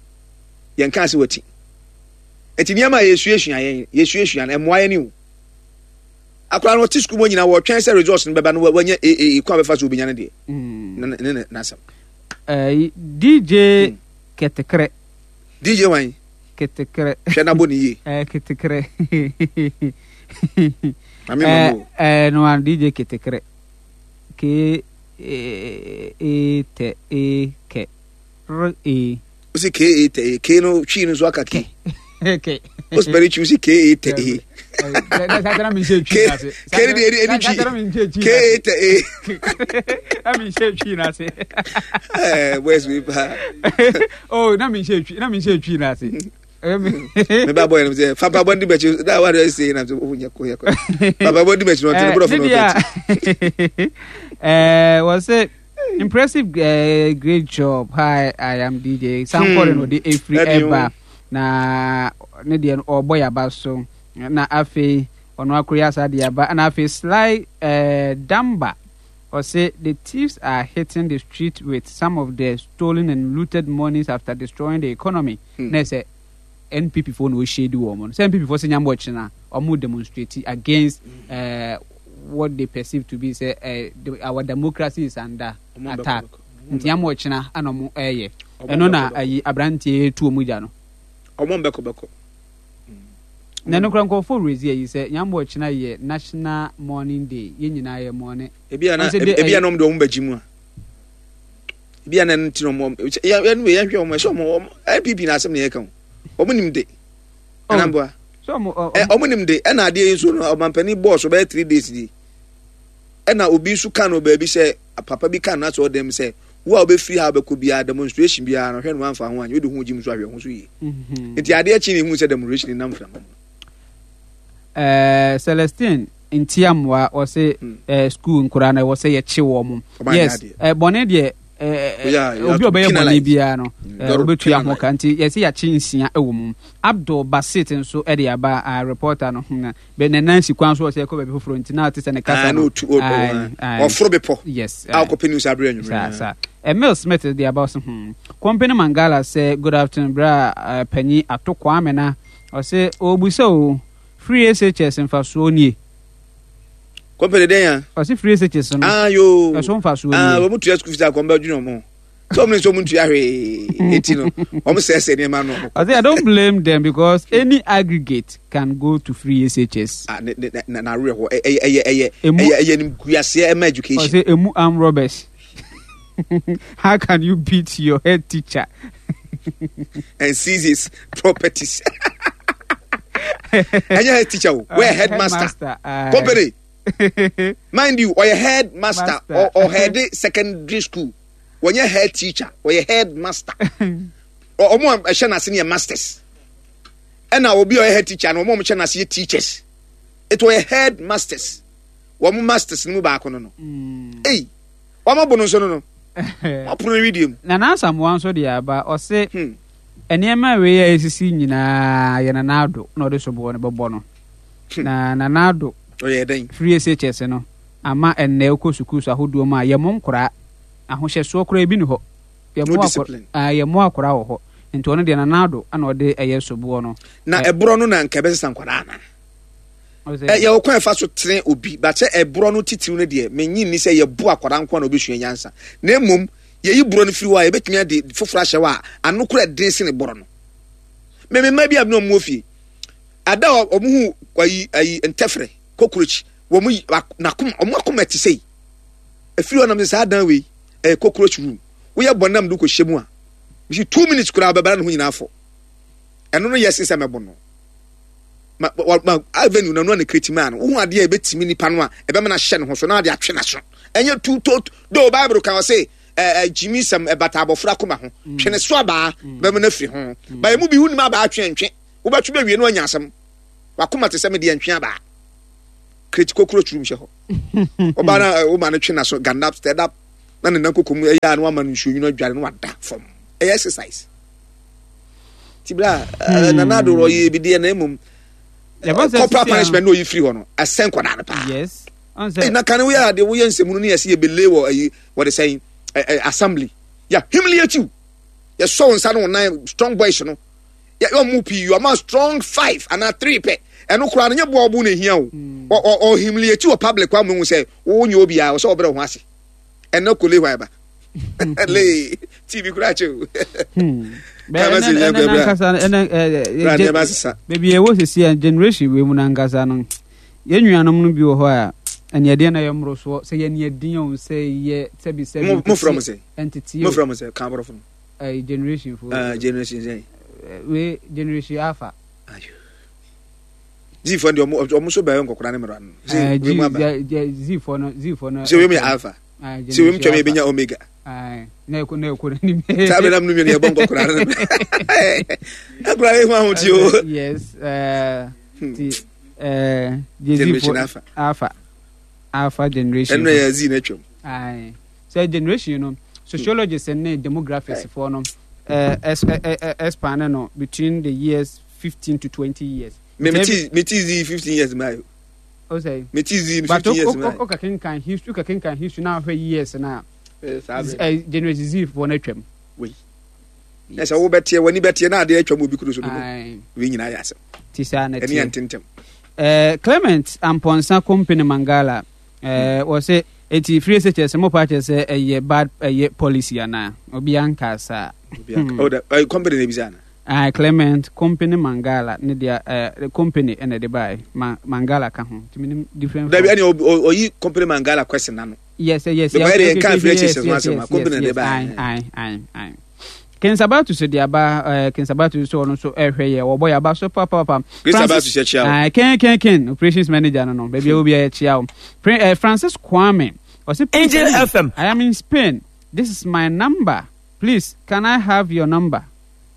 yɛn kaa sɛ wati nti nneɛma a yɛsuasua yɛn yɛsuasua no ɛmmoa yɛn o akora no ɔte sukuu mu nyinaa wɔtwɛn sɛ results no bɛba no wanya A A kwan bɛfa so obɛnya no deɛ ne ne n'asɛm. D J Ketekre. D J wan? Ketekre. Hwɛ na bɔ ne yie. Eh, Ketekre. Mame mamu. Eh, no an D J Ketekre. K E T E K R E. Usi K E T E K no twi no so aka K. K. O spell twi usi K E T E. K K ni edi twi. K E T E. Na mi nhyɛ twi na ase. Eh, boys we pa. Oh, na mi nhyɛ twi, na mi nhyɛ twi na ase. Me ba boy no say fa pa bondi bechi da wa dey say na so oh nyɛ ko yɛ ko. Papa bondi bechi no tene bro for no bechi. Eh, was it impressive uh, great job. Hi, I am D J. Sankore no de efri eba na ne de obo ya ba so na afi ono akori asa de aba na afi Sly eh, Damba. Or say the thieves are hitting the street with some of the stolen and looted monies after destroying the economy. Hmm. Na say N P P for no shady woman. Say N P P for say nyambo china or more demonstrate against uh, what they perceive to be say uh, the, our democracy is under attack. Nti nyambo china ano mo eye. Eno na ayi abrantie tu omuja no. Omo mbeko beko. Na no kra nkofo rezi ayi say nyambo china ye National Mourning Day. Ye nyina ye mourning. Ebi ana ebi ana omdo omba jimu a. Ebi ana nti no mo ya ya no ye hwe omo so omo N P P na asem na ye ka o. Omo nim de. Ana mboa. So omo eh omo nim de e na ade yi so no omampani boss so be three days di. E na obi so kan no ba bi se papa bi kan na so dem se wo a obe free ha be ko bia demonstration bia no hwe no anfa ho anyi odi ho jim so ahwe ho so yi. Nti ade a chi ni hu se demonstration nam fra. Eh Celestine Ntiamwa o se eh school nkura na wo se ye che wo mo. Yes, eh bone de eh obi obeye bone bia no eh obetua ho ka nti ye se ya che nsia ewo mu. Abdul Basit nso e de aba a reporter no na be na Nancy kwan so o se ko ba bi foforo nti na ate se ne kasa no. Oforo bepo. Yes. A ko peni usa bre anwumre. Sa sa. Emil Smith de aba so hmm. Company Mangala se good afternoon bra panyi atokwa amena. O se obusa o free S H S mfaso nie. Company den ya. Ɔsi free S H S no. Ah yo. Ɛso nfa so. Ah, wɔn tua school fees akɔnba dwene wɔn so, wɔn nso wɔn ntua hwee, eti no wɔn sɛɛsɛ nneɛma no. Ɔsi, "I don't blame them because any aggregate can go to free S H S" Ah, ne ne na na awerɛ hɔ, ɛyɛ ɛyɛ ɛyɛ Emu- ɛyɛ ɛyɛ nimguaseɛ ɛma education. Ɔsi emu arm robbers. How can you beat your head teacher? And seize his properties. Ɛnyɛ head teacher o, wɔyɛ headmaster. Aye. Company, mind you, ɔyɛ headmaster. Master. Ɔhead secondary school, wɔnyɛ head teacher, ɔyɛ headmaster. Ɔ- ɔmo a ɛhyɛ n'ase no yɛ masters, ɛna obi a ɔyɛ head teacher no, ɔmo a ɔmo hyɛ n'ase yɛ teachers. Etu ɔyɛ headmasters, wɔn masters no mu baako no no Ei, wɔn abo no nso no no wɔn apono no widie mu. Nana Asamoah nso de aba, ɔse Hmm. nneɛma wei a esisi nyinaa yɛ Nana Ado na ɔde soboɔ no bɛbɔ no, na Nana Ado Ɔyɛ dɛn? Free S H S no ama ɛnnɛ wokɔ sukuu so ahodoɔ mu a, yɛmo nkoraa ahohyɛsoɔ koraa ebi ni hɔ. No Yɛmo akora discipline. Ah, yɛmo akora wɔ hɔ, nti ɔno deɛ, Nana Ado ana ɔde ɛyɛ soboɔ no. Na Ɛ- ɛborɔ no na nka ɛbɛsesa nkwadaa na Ɔsɛ- ɛ yɛwɔ kwan ɛfa so tene obi bakyɛ. Ɛborɔ no titiriw no deɛ, menyi nni sɛ yɛbo akwadaa nko a na obɛsua nyansa, na mmom yɛyi borɔ no firi hɔ a, yɛbɛtumi ade foforɔ ahyɛ hɔ a ano kora ɛden sene borɔ no. Mɛmɛ mma bi a bi na ɔmo wɔ fie ada a, ɔmo hu ayi ayi ntɛfrɛ cockroach, wɔn yi ak- n'akoma, ɔmo akoma ti sɛyi efiri hɔ nam sɛ saa dan wei ɛyɛ cockroach room. Woyɛ bɔ nam do kɔ hyɛ mu a, bisi two minutes koraa bɛbɛra ne ho nyinaa fɔ. Ɛno no yɛ sen sɛ mɛbɔ no ma ma ma avenue na no na create maa no. Wohu adeɛ a ɛbɛtumi nipa no a ɛbɛma no ahyɛ ne ho so na ade atwe n'aso. Ɛnyɛ tu to do. Bible kan ɔse ɛɛ ɛ gyimi sɛm ɛbata abɔfra koma ho, twe ne so abaa bɛma no afiri ho ba. Emu bi wunim abaa twe ntwe, wobɛtwe bɛwie no anya asɛm. Wakoma te sɛ me deɛ, ntwe abaa create cockroach room hyɛ hɔ. Ɔbaa na ɛ, woma no twe n'aso ganda stand up na ne nan koko mu ɛyɛ a, na wama no nsuo nwunu adware na wada fam. Ɛyɛ exercise ti bra ɛ, Nana Ado ɔyɛ bi deɛ, na emom Yɛbɔ sɛ corporal sisi a- punishment na oyi firi hɔ no, ɛsɛn nkwadaa no paa. Yes, ɔn Ɛy, sɛ na kan woyɛ adeɛ, woyɛ nsɛmunu ne yɛsɛ yɛbɛle wɔ ayi, wɔde sɛn ɛ ɛ assembly, yɛ humiliate you, yɛsɔ wo nsa no wo nan. Strong boys no yɛ ɔmo pii, ɔmo strong five anaa three pɛ. Ɛno koraa no nyɛ boa ɔbo na ehia o. Ɔ ɔ ɔ humiliate wɔ public wa mo hu sɛ wo nyɛ obiara, ɔsɛ ɔbrɛ wo ho ase. Ɛnɛ kole hɔ ɛba le T V koraa kyɛ o. Bɛ- Kama ɛnɛ sɛ ɛnɛ yɛ bra. nankasa ɛnɛ ɛ Bra ɛ nneɛma sesa. Baabi a ɛwɔ sisi a, generation wei mu nankasa no, yɛn nuanom no bi wɔ hɔ a, ɛneɛdeɛ na yɛ mmorosoɔ sɛ yɛ neɛden o, sɛ yɛ sɛbi sɛbi. Mo mo frɛ mo sɛ ɛntete mo o. frɛ mo sɛ kan aborɔfo no. Ɛɛ, generation fo. Ɛɛ, generation sɛn? Wei generation alpha. Ayo, Z fo deɛ, ɔmo ɔmo so bɛyɛ nkɔkora ne mmerɛ no ɛɛ sɛ wei mu aba. G Z Z fo no, Z fo no. Sɛ wei mu yɛ alpha, Ɛɛ, sɛ wei mu twɛm generation yɛbɛnya omega. Alpha. Na ɛkɔ na ɛkɔ n'anim. Saa bɛ nam no mmienu yɛbɔ nkɔkora no akora ehu ahoti o. Yes, ɛɛ Hmm. ti ɛɛ Z Generation fo alpha. Alpha, alpha generation. Ɛno yɛ Z na atwam. Aye. Sɛ generation no, sociologists ne demographics foɔ no ɛɛ ɛs ɛ ɛ expand no between the years fifteen to twenty years. Me me ti me ti Z fifteen years maa yo. O sɛ. Me ti Z But fifteen years maa o o ka kenkan history, o ka kenkan history na ahwɛ years na yo. Saa bɛ ɛ generation Z foɔ no atwam. Wei ɛsɛ wo bɛteɛ w'ani bɛteɛ na adeɛ atwam obi kuro so dodo. Aye. Wei nyinaa yɛ asɛm. Ti saa na ɛne yɛ teɛ. ntentɛm. Ɛɛ Clement Amponsa Company Mangala ɛɛ wɔsɛ eti free S H S mo pa kyerɛ sɛ ɛyɛ bad ɛyɛ policy ana obi anka saa. Obi aka oh da ɛyɛ company na ebisa na. Ah, Clement Company Mangala ne deɛ, ɛɛ company ɛna ɛde baa Ma Mangala ka ho nti minim different. Dabi, ɛne oyi company Mangala question na no. yes yes. Because ɛde nka free S H S ho asɛm a, company na ɛde baa. Ayi ayi ayi ayi Kensabatu so de aba. ɛɛ Kensabatu so, ɔno nso ɛhwɛ yɛ, wɔbɔ yɛ aba so papaapa. Grace Abatu hyɛ kyia o. Ayi, ken ken ken operations manager no no baabi a obi a yɛkyia o. Pre ɛɛ Francis Kwame ɔsi, Angel F M. "I am in Spain. This is my number. Please, can I have your number?"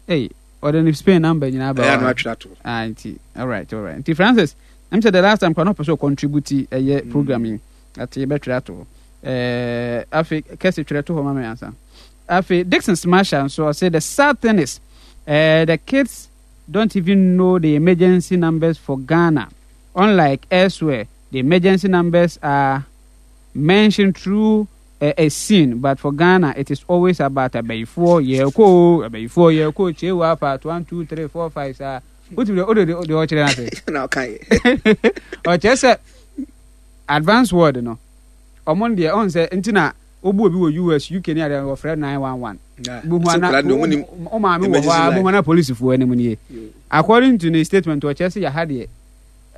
Hey, ɔde ne Spain number nyinaa ba. Ɛyɛ ano hɔ. atwerɛ ato. Ah, nti alright alright nti Francis, ɛm sɛ the last time kora na ɔpɛ sɛ ɔcontribute ɛyɛ program yi ate, yɛbɛtwerɛ ato hɔ. Ɛɛ afei kɛse twerɛ to hɔ ma me ansa. Afei Dixon Smasher nso ɔsɛ, "The sad thing is uh, the kids don't even know the emergency numbers for Ghana. Unlike elsewhere, the emergency numbers are mentioned through a, a scene, but for Ghana it is always about abayifoɔ yɛkɔ, abayifoɔ yɛkɔ kyewa part one two three four five." Saa wotumi de ɔde de ɔkyerɛ n'ase. Na ɔka yɛ. Ɔkyerɛ sɛ Advanced world no, ɔmo deɛ ɔn sɛ nti na obu obi wɔ U S, U K ne adeɛ, wɔfrɛ nine one one. Buhu ana o maame wɔ hɔ a, buhu ana polisifoɔ anim nie. According to ne statement, ɔkyerɛ sɛ yɛha deɛ,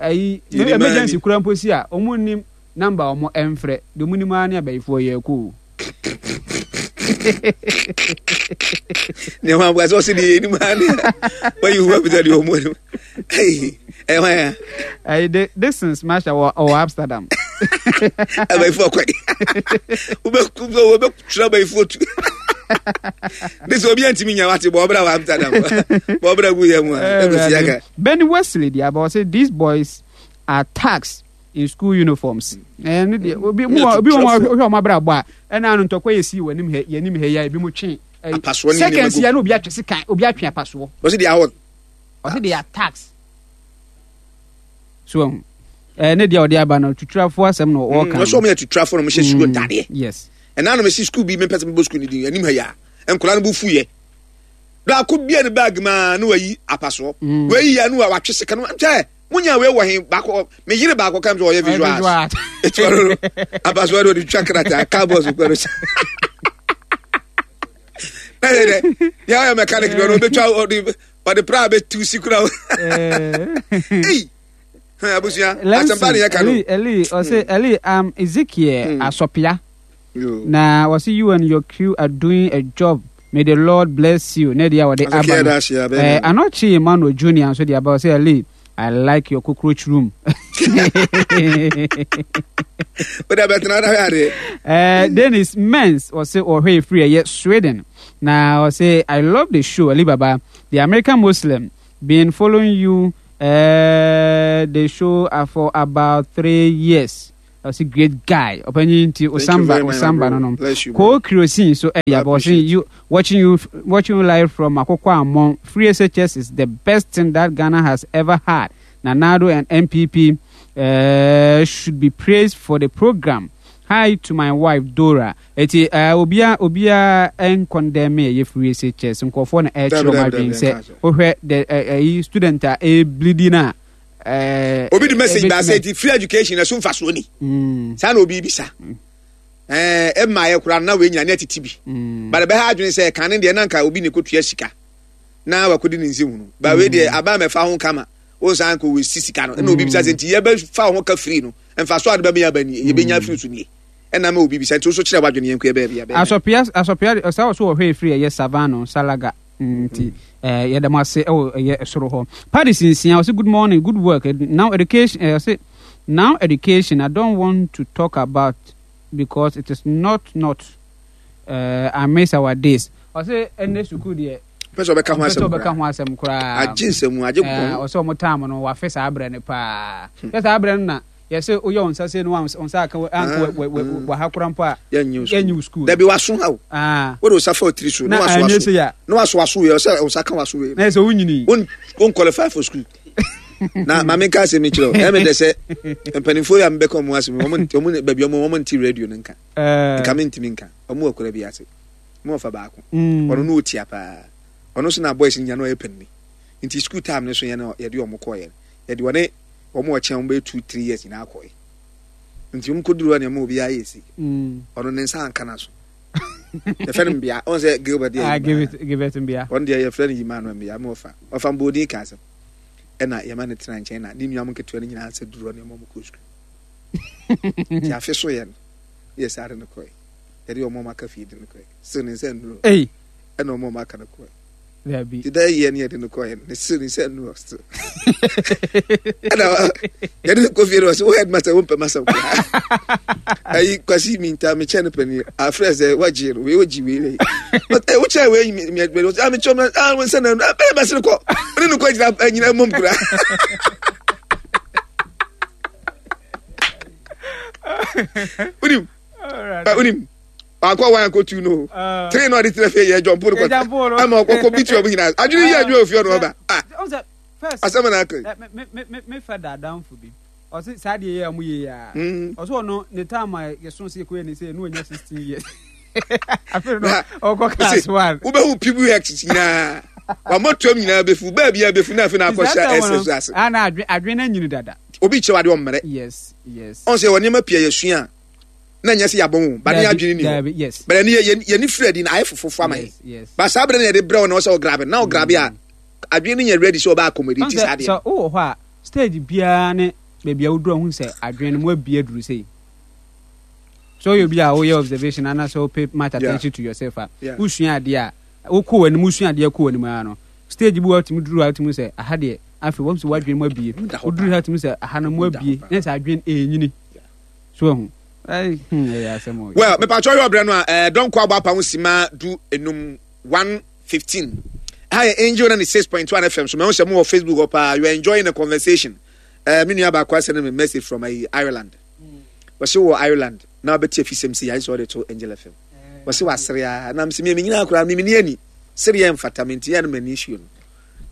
ɛyi emergency kura mpo si a, ɔmo nim number a ɔmo ɛmfrɛ deɛ, ɔmo nim ara ne abayifoɔ yɛ kɔ o. Nneɛma aboa sɛ ɔsɛ deɛ yɛnim ha ne wayi hu abisa deɛ ɔmu anim ɛyɛ hwan a? Ɛyi de distance masha wɔ ɔwɔ Amsterdam. Abayifoɔ kɔe, wobɛtwerɛ abayifoɔ tu de sɛ obi antimi nya wate bɔ ɔbra wɔ Amsterdam, bɔ ɔbra gu yɛ mu a ɛkɔsi aka. Benny Wesley deɛ aba, ɔsɛ these boys are thugs in school uniforms. Ɛno deɛ, obi mu wɔ obi wɔ hɔ, wohwɛ ɔmo abrabɔ a, ɛna ano ntɔkwa yɛ si wɔ anim ha, yɛ anim ha yi a, ebi mo twe ɛyi, Apasoɔ ne nneɛma seconds gu. Yɛ na obi atwe sekan, obi atwe apasoɔ. Ɔsɛ deɛ ahɔ. Ɔsɛ they are thugs. So ɛho ɛɛ ne deɛ ɔde aba no, tuturafoɔ asɛm na ɔɔka. Ɔsɛ ɔmo yɛ tuturafoɔ na ɔmo hyɛ sukuu ntaadeɛ. Yes. Ɛna na mesi sukuu bi, mepɛ sɛ mebɔ sukuu no din anim ha yi a, nkwadaa no bo fuyɛ baako bia ne bag maa na wayi apasoɔ. Mm. Wayi ya no a watwe sika no nkyɛ munya wei wɔ he baako, me yere baako kam sɛ ɔyɛ visual art, eti ɔno no apasoɔ de ɔde twa krataa cardboard so kura no sɛ na yɛ dɛ yɛ ɔyɛ mechanic bi, ɔno ɔbɛtwa, ɔde ɔde pra bɛtu si kura. Ei, hɛn abusua asɛmpa ne yɛ ka no. Eli Eli ɔsɛ Eli um, Ezekiel Mm. Asɔpia. Yo. Na wɔsi you and your crew are doing a job, may the Lord bless you. Ne deɛ a wɔde Asɔpia aba no. da ase, abɛn Eh, no. Anɔkye Emmanuel Junior nso de aba, ɔsɛ Eli, I like your cockroach room. Wode abɛtena da hwɛ adeɛ. Uh, Dennis Mens ɔsɛ ɔhwɛ efiri ɛyɛ Sweden, na ɔsɛ I love the show, Ali Baba the American Muslim, been following you uh, the show uh, for about three years. Ɔsɛ great guy, ɔpanyin nti Osamba very much, my Osamba bro. no no. Bless you, bro. Ko kerosene so ɛyɛ aba, ɔsɛ you watching you watching you live from Akoko Amon. Free S H S is the best thing that Ghana has ever had. Nana Addo and N P P uh, should be praised for the program. Hi to my wife Dora. Eti uh, obia obia nkɔndɛm ɛyɛ free S H S nkurɔfoɔ na ɛkyerɛ ɔmo adwene sɛ wohwɛ the ɛyi student a ɛbleedi na ɛɛ Obi de message ba sɛ ti free education ɛso mfasoɔ ni. Mm, saa na obi bisa ɛɛ ɛma yɛ koraa na wei nyina ne atete bi. mm, But ɛbɛha adwene sɛ kane deɛ na nka obi ne kɔtua sika na wakɔdi ne nsɛm hunu ba, wei deɛ aba mɛfa ho kama wo san kɔ wɔsi sika no, ɛna obi bisa sɛ nti yɛbɛfa ho ka firi no, mfasoɔ ade bɛmɛ aba nie, yɛbɛnya firi so nie, ɛna ma obi bisa nti wo so kyerɛ w'adwene, yɛn kɔ yɛbɛyɛ bia. Asɔpia Asɔpia ɔsɛ ɔso wɔhwɛ efiri ɛyɛ Savano Salaga nti ɛɛ yɛda mo ase ɛwɔ ɛyɛ soro hɔ. Paris nsia ɔsɛ good morning, good work. Now education, ɛɛ ɔsɛ now education, I don't want to talk about because it is not not uh, I miss our days. Ɔsɛ ɛnɛ sukuu deɛ pɛ sɛ ɔbɛka ho ɔmpɛ sɛ asɛm ɔbɛka koraa. Ho asɛm koraa. Agye nsɛm agye ɛɛ kɔn. Ɔsɛ ɔmo taam no wafe saa abirɛ no paa yɛ saa abirɛ no na yɛsɛ oyɛ wɔn nsa se no wɔn nsa aka anka wɔ wɔ wɔ ha kora mpo a yɛnyɛ yɛnyɛ wo sukuu. Dabi, waso ha o. Aa. Wode wo sa fa otiri so na na waso anyɛ aso se ya na waso aso yɛ ɔsɛ wo nsa ka waso wei. Na yɛ sɛ wonyini. Won won qualify for school. Na maame nka asɛm yi kyerɛ wo, ɛmɛ dɛ sɛ mpanimfoɔ yi a mebɛka ɔmo asɛm yi, ɔmo nte- ɔmo baabi ɔmo ɔmo nte radio no nka. Ɛɛ nka mentumi nka ɔmo wɔ kura bi ase mo ɔfa baako. Mm. Ɔno no ɔtia paa, ɔno nso na boys nya no ɔyɛ panini, nti school time no so yɛ no yɛde ɔmo kɔɔyɛ no, yɛde ɔne ɔmo ɔkyɛn ɔmo bɛyɛ two three years nyinaa kɔɛ, nti ɔmo kɔduru hɔ nneɛma obiara yɛ si. Mm. Ɔno ne nsa anka na so yɛfrɛ no Mbea, ɔn sɛ Gilbert deɛ ah yɛ give it give it Mbea. Ɔno deɛ yɛfrɛ no Yima no Mbea ma ɔfa ɔfa mbɔɔdin ka asɛm, ɛna yɛma no tena nkyɛn na ne nua mo nketewa no nyinaa sɛ duru hɔ nneɛma ɔmo kɔ sukuu, nti afe so yɛ no yɛ saa de no kɔɛ, yɛde ɔmo ɔmo aka fie de no kɔɛ, still ne nsa nnuro. Ei. Ɛna ɔmo ɔmo aka no kɔɛ. Dabi. Ti da yɛ ne yɛde no kɔɛ ne still ne nsa nnuro still, ɛna yɛde no kɔ fie no, ɔsɛ wo headmaster wo mpɛ masɛm koraa, ayi Kwasi minta mekyɛ no pani afrɛ sɛ wagye no wei wagye wei wei, but ɛ wokyɛ wei mi mi mi ah mekyɛ no, ah wo nsa na ah bɛyɛ bɛsere kɔ ɔne no kɔ gyina nyina mmom koraa. Wonim wonim baako a wɔn akɔtu no three na ɔde tena fie yɛ jɔnpo no kɔ ama ɔkɔkɔ bi tua mu nyinaa adwene yi adwene ofie ɔno ɔba ah asɛm na aka yi. Me me me me fɛ da adamfo bi, ɔsi saa deɛ yɛ a ɔmo yɛ yɛ a, Mm. ɔsɛ ɔno ne time a yɛso sɛ yɛkɔyɛ ne sɛ ɛno ɔnya sixteen years, afei no Na- ɔkɔ class one. Wobɛhu P B X nyinaa wamɔtoam nyinaa bɛfu baabi a bɛfu na afei na akɔhyɛ S S ase. Ana adwene adwene no anyini dada. Obi kyerɛ wade ɔmmerɛ. Yes, yes. Ɔn sɛ wɔ nneɛma pii a yɛsua a na nyɛ sɛ yɛabɔ ho ba ne adwene ni hɔ. Bɛrɛ ne yɛ yɛni firi adi na ayɛ fofofo ama yɛ. Ba saa berɛ na yɛde brɛ wo na ɔsɛ ɔgrabe na ɔgrabe a adwene no nyɛ ready sɛ ɔbɛ accommodate saa adeɛ. Sɛ wowɔ hɔ a stage biara ne baabi a woduru ahu sɛ adwene no mu abie aduru sei. So woyɛ obi a woyɛ observation anaasɛ wo pay much attention to yourself a, wosua adeɛ a wokɔ w'anim, wosua adeɛ kɔ w'anim ara no, stage bi wɔ wotumi duru a wotumi sɛ aha deɛ afei wɔn sɛ w'adwene mu abie. Woduru ha wotumi sɛ aha no mu abie, na sɛ adwene ɛrenyini. So ahu. Ɛyɛ asɛm o. Well, mepatwa yɛ ɔbrɛ no a ɛɛ dɔnkɔ abɔ apa ho sima du enum one fifteen. Ha yɛ Angel ninety six point one F M so mɛho sɛ mo wɔ Facebook hɔ paa. You are enjoying the conversation. Ɛɛ me nua baako asɛn me message from ayi Ireland. Wɔsi wɔ Ireland na wabɛti afisɛm si yɛayɛ sɛ ɔde to Angel F M. Wɔsi wasere a na msi mi nyinaa koraa mi ni ani sere yɛ mfata mi nti yɛ no m'ani issue no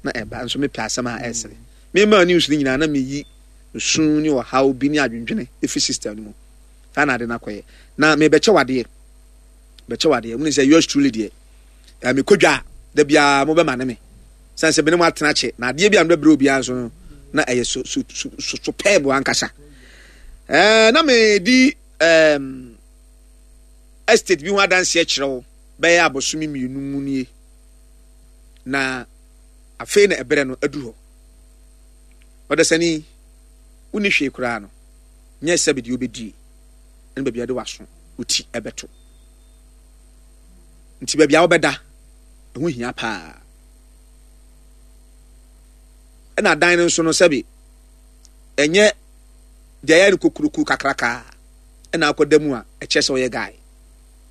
na ɛba nso mepɛ asɛm a ɛsere. Me ma news no nyinaa na meyi nsu ne ɔhaw bi ne adwendwene efi system no mu. Saa na ade no akɔyɛ. Na mebɛkyɛ wadeɛ. Bɛkyɛ wadeɛ. Mu ne sɛ yours truly deɛ. Eh, mekɔ dwa a, da biara mobɛma ne me. Sane sɛ mene mo atena kyɛ. Na adeɛ bi a mebɛbrɛ obiara nso no, na ɛyɛ so so so so superb ankasa. Eh, na medi um, estate bi ho adanseɛ kyerɛ wo bɛyɛ abosome mmienu mu nie. Na afei na ɛberɛ no aduru hɔ. Ɔdasani, wonni hwee koraa no, nyɛ sɛbe deɛ wobɛdie ne baabi a wode w'aso, wo ti ɛbɛto. Nti baabi a wobɛda, ɛho hia paa. Ɛna dan no nso no sɛbe, ɛnyɛ deɛ ɛyɛ no kokuroko kakraka ɛna akɔda mu a ɛkyerɛ sɛ ɔyɛ guy.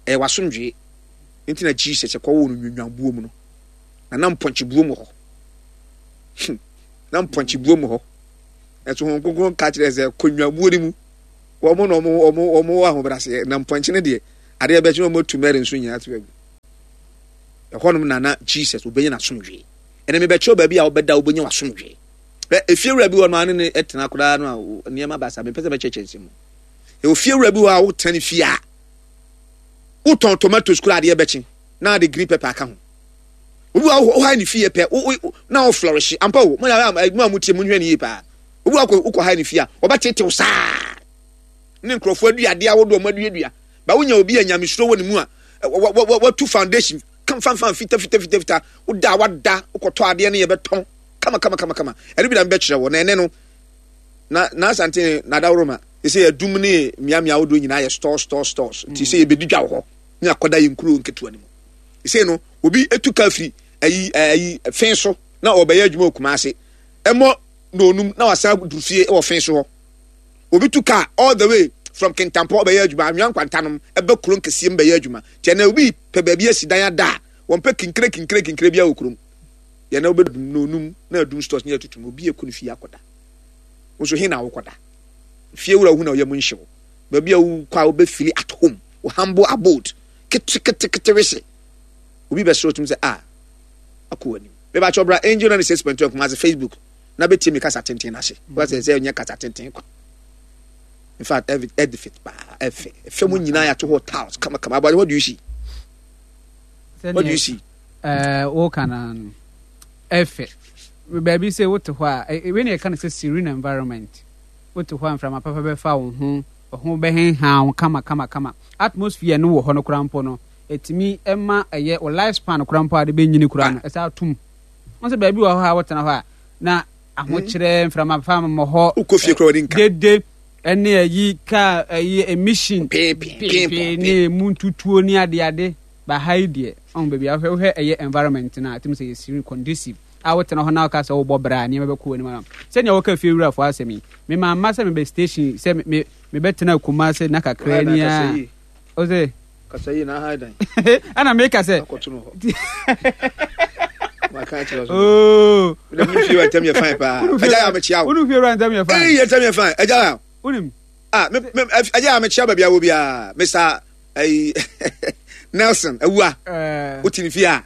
Ɛyɛ w'asomdwee. Nti na Jesus ɛkɔwoo no nwinwanbuo mu no, na na mpɔnkyebuo mu hɔ. Hmm. Na mpɔnkye buo mu hɔ. Ɛso Honhom Kronkron ka kyerɛ sɛ kɔ nnwammuo no mu. Wɔn na wɔn wɔn wɔn wɔ ahobrɛaseɛ. Na mpɔnkye no deɛ, adeɛ bɛkye na wɔn atu Mary nso nyinaa to agu. Ɛhɔnom na na Jesus obɛnya n'asomdwee. Ɛnna mebɛkyerɛw baabi a wobɛda wobɛnya w'asomdwee. Hwɛ, efiewura bi wɔ no a ne ne tena koraa no a nneɛma baasa mepɛ sɛ mɛkyerɛkyerɛ nsɛm mu. Ɛwɔ fiewura bi wɔ a wotena ne fie a wotɔn tomatoes koraa adeɛ bɛkye na ade green pepper aka ho. Obi wɔ hɔ ha ne fie pɛ na wo flourish ampa o mo na mo a mo tie mo nhwɛ ne yie paa. Obi wɔ hɔ wokɔ ha ne fie a ɔbɛtetew saa ne nkurɔfoɔ aduadeɛ ahodoɔ ɔmo aduadua ba wonya obi a nyamesuro wɔ ne mu a watu foundation kamfanfan fita fita fita fita woda a wada wokɔtɔ adeɛ no yɛbɛtɔn kama kama kama kama ɛno bi na mebɛkyerɛ wɔ na ɛnɛ no na n'asante na adaworoma ɛsɛ yɛdum ne mmeammea ahodoɔ nyinaa yɛ stores stores stores nti sɛ yɛbɛdi dwa wɔ hɔ ne akɔda yɛ nkuro nketewa no mu Sei no, obi etu kaa firi ayi ayi fen so na ɔbɛyɛ adwuma wɔ Kumase. Ɛmɔ na onum na wasan duru fie wɔ fen so hɔ. Obi tu kaa all the way from Kintampo ɔbɛyɛ adwuma, Anwea Nkwantanom ɛbɛ kuro nkɛseɛ mu bɛyɛ adwuma. Nti ɛnɛ obi pɛ baabi asi dan ada a, wɔmpɛ kinkire kinkire kinkire biara wɔ kurom. Yɛn na wobɛdum na onum na adum stores ne atutum obi ekɔ ne fie akɔda. Wo nso he na wokɔda? Fie wura wohu na ɔyɛ mu nhyew. Baabi a wokɔ a wobɛfili at home, wo humble abode. Ketekete wese obi bɛsrɛ otum sɛ a akɔ w'anim. Mebakyɛ ɔbra Angel ninety six point two Kumasi Facebook na bɛtie me kasa tenten no ase. Wọ́n sɛ sɛ ɛnyɛ kasa tenten kwa. In fact, edifit paa ɛfɛ. Ɛfɛ mu nyinaa yɛato hɔ tiles kama kama. Abɔde, what do you see? What do you see? Ɛɛ woka na no ɛfɛ. Baabi sɛ wote hɔ a, wei na yɛka no sɛ serene environment. Wote hɔ a mframa papa bɛfa wo ho. Ho bɛhenhan wo kama kama kama. Atmosphere no wɔ hɔ no koraa mpo no, ɛtumi ma ɛyɛ wo life span koraa mpo a wode bɛnyini koraa no, ɛsan tom. Wo sɛ baabi wɔ hɔ a wotena hɔ a, na ahokyerɛ, mframa fa mmɔ hɔ, Wokɔ fie koraa w'ani nka. dede, ɛne ayi kaa ayi emission, Pee, pee, pee, pee, ne emu ntutuo ne adeade. Ba ha yi deɛ, ɔho baabi a wohwɛ, wohwɛ ɛyɛ environment no a, ɛtumi sɛ yɛ serene, conducive. A wotena hɔ na woka sɛ wobɔ bra a, nneɛma bɛkɔ w'anim ama. Sɛnea wɔka fie wurafoɔ asɛm yi, me mamma sɛ mebɛ station sɛ me mebɛtena Kumase na kakra ni a. O se. Kasa yi na aha dan. Ɛna meka sɛ. Akɔto no hɔ. Maka akyerɛ so. Oo. Wode mu fie wura ntam yɛ fine paa. Agya yɛ amekyia wo. Wone fie wura ntam yɛ fine. Ee yɛ ntam yɛ fine. Agya yɛ. Wonim. Ah me me agya yɛ amekyia baabi a wɔ biara. Mister ayi Nelson Awua. Eh. Wote ne fie a.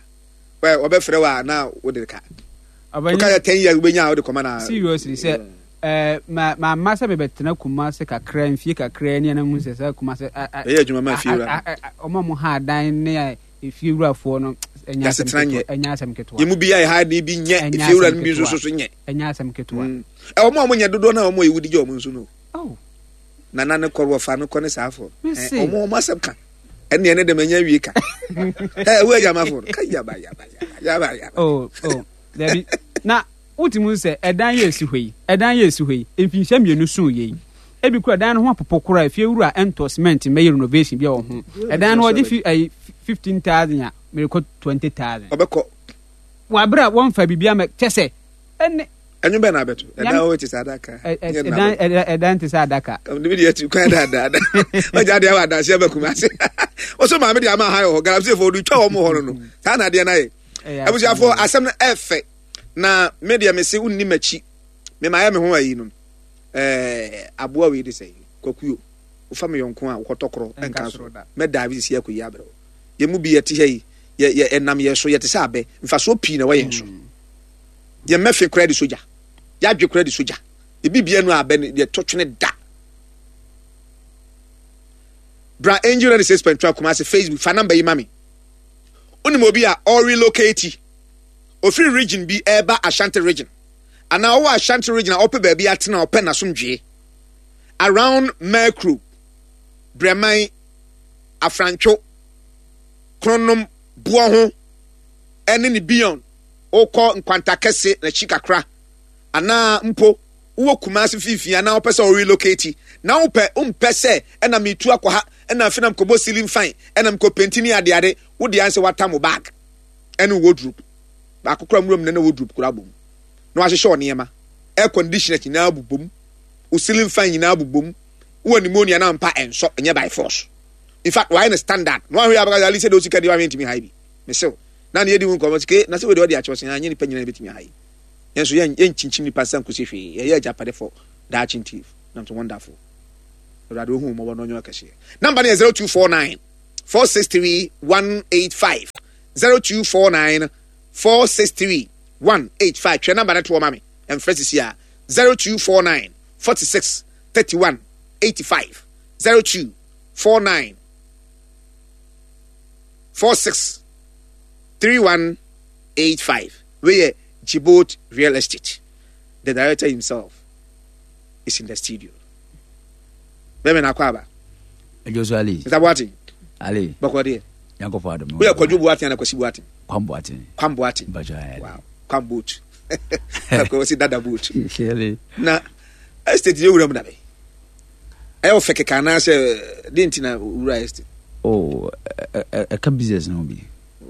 Wɔbɛfrɛ wo a na wode ka. Woka yɛ ten years wobɛnya a wode kɔma na. Seriously sɛ ɛɛ ma ma ma sɛ mebɛtena Kumase kakra mfie kakra ni ɛna hu sɛ sɛ Kumase. Ɛyɛ adwuma ma fie wura. Ɔmo a mo ha adan ne efie wurafoɔ no ɛnyɛ asɛm ketewa. Ɛnyɛ asɛm ketewa. Yɛn mu bi yɛ ha ne bi nyɛ efie wura no bi nso so so nyɛ. Ɛnyɛ asɛm ketewa. Ɛwɔ mo a monyɛ dodoɔ no a ɔmo yɛwudi gye ɔmo nso no. Oh. Nana ne kɔrɔ wɔfa no kɔ ne saa afɔ. Mese. Ɔmo ɔmo asɛm ka. Ɛne ɛne dɛm ɛnyɛ wie ka. Ɛ wo agyamafo no ka yaba yaba yaba yaba. Oh, oh. Dabi. Na wotumi sɛ ɛdan yɛ esi hɔ yi, ɛdan yɛ esi hɔ yi, mfinhyia mmienu so yɛ yi. Ebi kura dan no ho apopo kora, efie wura ɛntɔ cement mmɛyɛ renovation bi a wɔ ho. Ɛdan no ɔgye fi ɛyi fifteen thousand a merekɔ twenty thousand. Ɔbɛkɔ. Wabere a wɔmfa biribi ama kyɛ sɛ ɛne. Ɛnwom bɛn na abɛto? Ɛdan wo te sɛ adaka. Ɛdan ɛdan te sɛ adaka. Ɛmi de ɛti kwan daadaa. Ɔgya adeɛ wɔ adansi ɛbɛ kuma ase. Ɔsɔ maame de ama ha yɛ hɔ. Galamsey fo ɔde twa wɔn hɔ no no. Saa na adeɛ na yɛ. Abusuafo asɛm no ɛfɛ. Na me deɛ me se wonni m'akyi. Me ma yɛ me ho ayi no. Ɛɛ aboa wei de sɛ kwakuo. Wofa me yɔnko a wokɔtɔ korɔ ɛnka so. Mɛ daabi sisi akɔ yi abrɛ. Yɛn mu bi yɛte ha yi. Yɛ yɛ ɛnam yɛ so yɛte sɛ abɛ. Mfasoɔ pii na ɛwɔ yɛn so. Yɛn mɛfe koraa de sogya, yɛadwe koraa de sogya, ebi bia nu abɛ no yɛtɔ twene da. Bra Angel ninety six point one Kumasi Facebook fa namba yi ma me. Wonim obi a ɔrelocate ofiri region bi ɛreba Ashanti region anaa ɔwɔ Ashanti region a ɔpɛ baabi atena, ɔpɛ n'asomdwee around Merkro, Brɛman, Afrantwo, Kronom, Boɔ ho ɛne ne beyond. Wokɔ Nkwanta Kɛse n'akyi kakra anaa mpo wowɔ Kumasi mfimfini anaa wopɛ sɛ wo relocate na wopɛ wompɛ sɛ ɛna metu akɔ ha ɛna afei na mekɔbɔ ceiling fan ɛna mekɔ penti ne adeade, wo deɛ ansɛ watam wo bag ɛne wo wardrobe baako koraa nwura mu na na wardrobe koraa bom na wahyehyɛ wo nneɛma, air conditioners nyinaa bobom, wo ceiling fan nyinaa bobom, wowɔ pneumonia na mpa ɛnsɔ, ɛnyɛ by force. In fact, wayɛ no standard na wahwɛ abɛka sɛ ali sɛ de osika deɛ wahwɛ ntumi ha bi mesew na ne yɛdi ho nkɔmmɔ sike na sɛ wei deɛ ɔde akyerɛ sɛ anyɛ nipa nyinaa bɛtumi aha yi. Yɛn nso yɛn yɛnkyinkyim nipa nsa nkosi hwee, yɛyɛ agyapade fɔ daakye nti nam so wonderful. Awurade ohu mmɔbɔ na ɔnyɛ ɔkɛseɛ. Namba no yɛ zero two four nine four six three one eight five, zero two four nine four six three one eight five. Twɛ namba no toɔ ma me, ɛmfrɛ sisi a zero two four nine forty six thirty one eighty five, zero two four nine four six three one eight five. Wei yɛ Djibouti Real Estate. The director himself is in the studio. Bẹ́ẹ̀ni na akɔ aba. Ɛjọ so Ali. Mister Boateng. Ali. Bɔkɔ deɛ. Yankɔfɔ adum. Woyɛ Kwadwo Boateng ana Kwasi Boateng? Kwam Boateng. Kwam Boateng. Bàjọ́ ayé. Wow. Kwam boat. Akɔ si dada boat. Surely. Na estate yɛ wura mu dabe. Ɛyɛ ɔfɛ kɛkɛ anaasɛ de nti na wura estate? Oh, ɛka business no bi.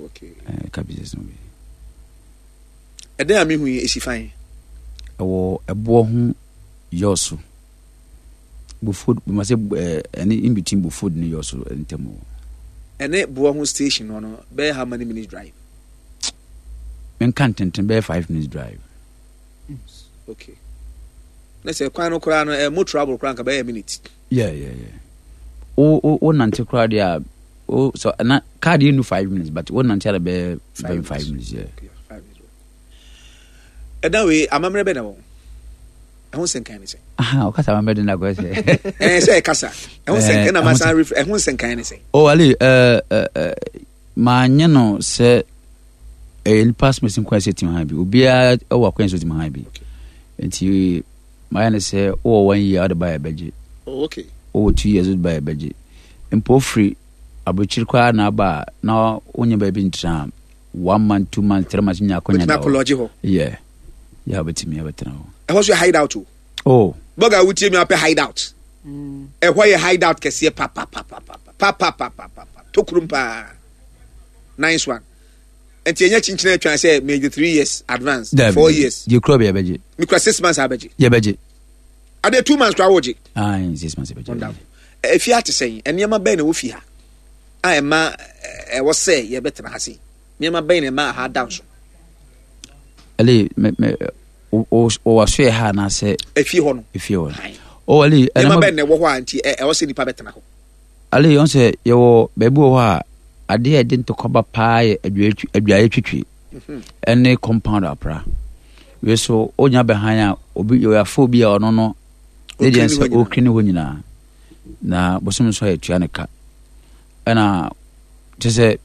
Okay. Ɛka business no bi. Ɛdɛn a mehu yi esi fan? Ɛwɔ ɛboɔ ho yɔɔso. Bofod, ma sɛ ɛne in between Bofod ne yɔɔso ntam wɔ. Ɛne boɔ ho station no no bɛyɛ how many minutes drive? Menka ntenten bɛyɛ five minutes drive. Okay. Na sɛ kwan no koraa no ɛ mo travel koraa nka bɛyɛ minute. Yeah, yeah, yeah. O o o nante koraa deɛ a o so na car deɛ nu five minutes but o nante ara bɛyɛ bɛyɛ five minutes yeah. Okay, five minutes. Ɛdan wei amammerɛ bɛ na wɔ ɛho nsɛnkan ne sɛ. Aha ɔkasa amammerɛ de na akɔyɛ sɛ. Ɛɛ sɛ ɛkasa ɛho nsɛnkan na ma san refrɛ ɛho nsɛnkan ne sɛ. Oh Ali ɛɛ ɛɛ maa nye no sɛ ɛyɛ nipa asomasi nkwan sɛ tim ha bi obiara ɛwɔ akwan sɛ tim ha bi nti mayɛ ne sɛ wowɔ one year wode ba yɛ bɛgye. Oh, okay. Wowɔ two years wode ba yɛ bɛgye mpo ofiri aburokyiri koraa na aba a na wonyɛ baabi ntena one month, two months, three months nya akonya da hɔ. Yeah. Yeah, obetumi abɛtena hɔ. Ɛhɔ so yɛ hideout o. Oh. Bɔga wutie mi apɛ hideout. Ɛhɔ yɛ hideout kɛseɛ papapapapapapapapa tokurum paa. Nice one. Nti ɛnyɛ kyinkyin atwa sɛ maybe three years advance, Dabi, four years. Gye kura bi ɛbɛgye. Mikura six months abɛgye. Yɛbɛgye. Ade two months kura wɔgye. Ayi six months ɛbɛgye. Wonderful. Efi ate sɛn? Nneɛma bɛn na ɛwɔ fi ha a ɛma ɛwɔ sɛ yɛbɛtena ha sei? Nneɛma bɛn na ɛma ha da nso? Ali, me me o o waso yɛ ha anaasɛ. Efie hɔ no. Efie hɔ no. O Ali, nneɛma bɛn na ɛwɔ hɔ a nti ɛwɔ sɛ nipa bɛtena hɔ? Ali, ɔn sɛ yɛwɔ baabi wɔ hɔ a adeɛ a ɛde ntɔkwa ba paa yɛ adwaeɛ twitwi ɛne compound apra. Wei so onya bɛhan a obi yɛwɔ afo bi a ɔno no ne deɛ sɛ ɔkiri ne hɔ nyinaa na bosom nso a yɛtua ne ka ɛna kyɛ sɛ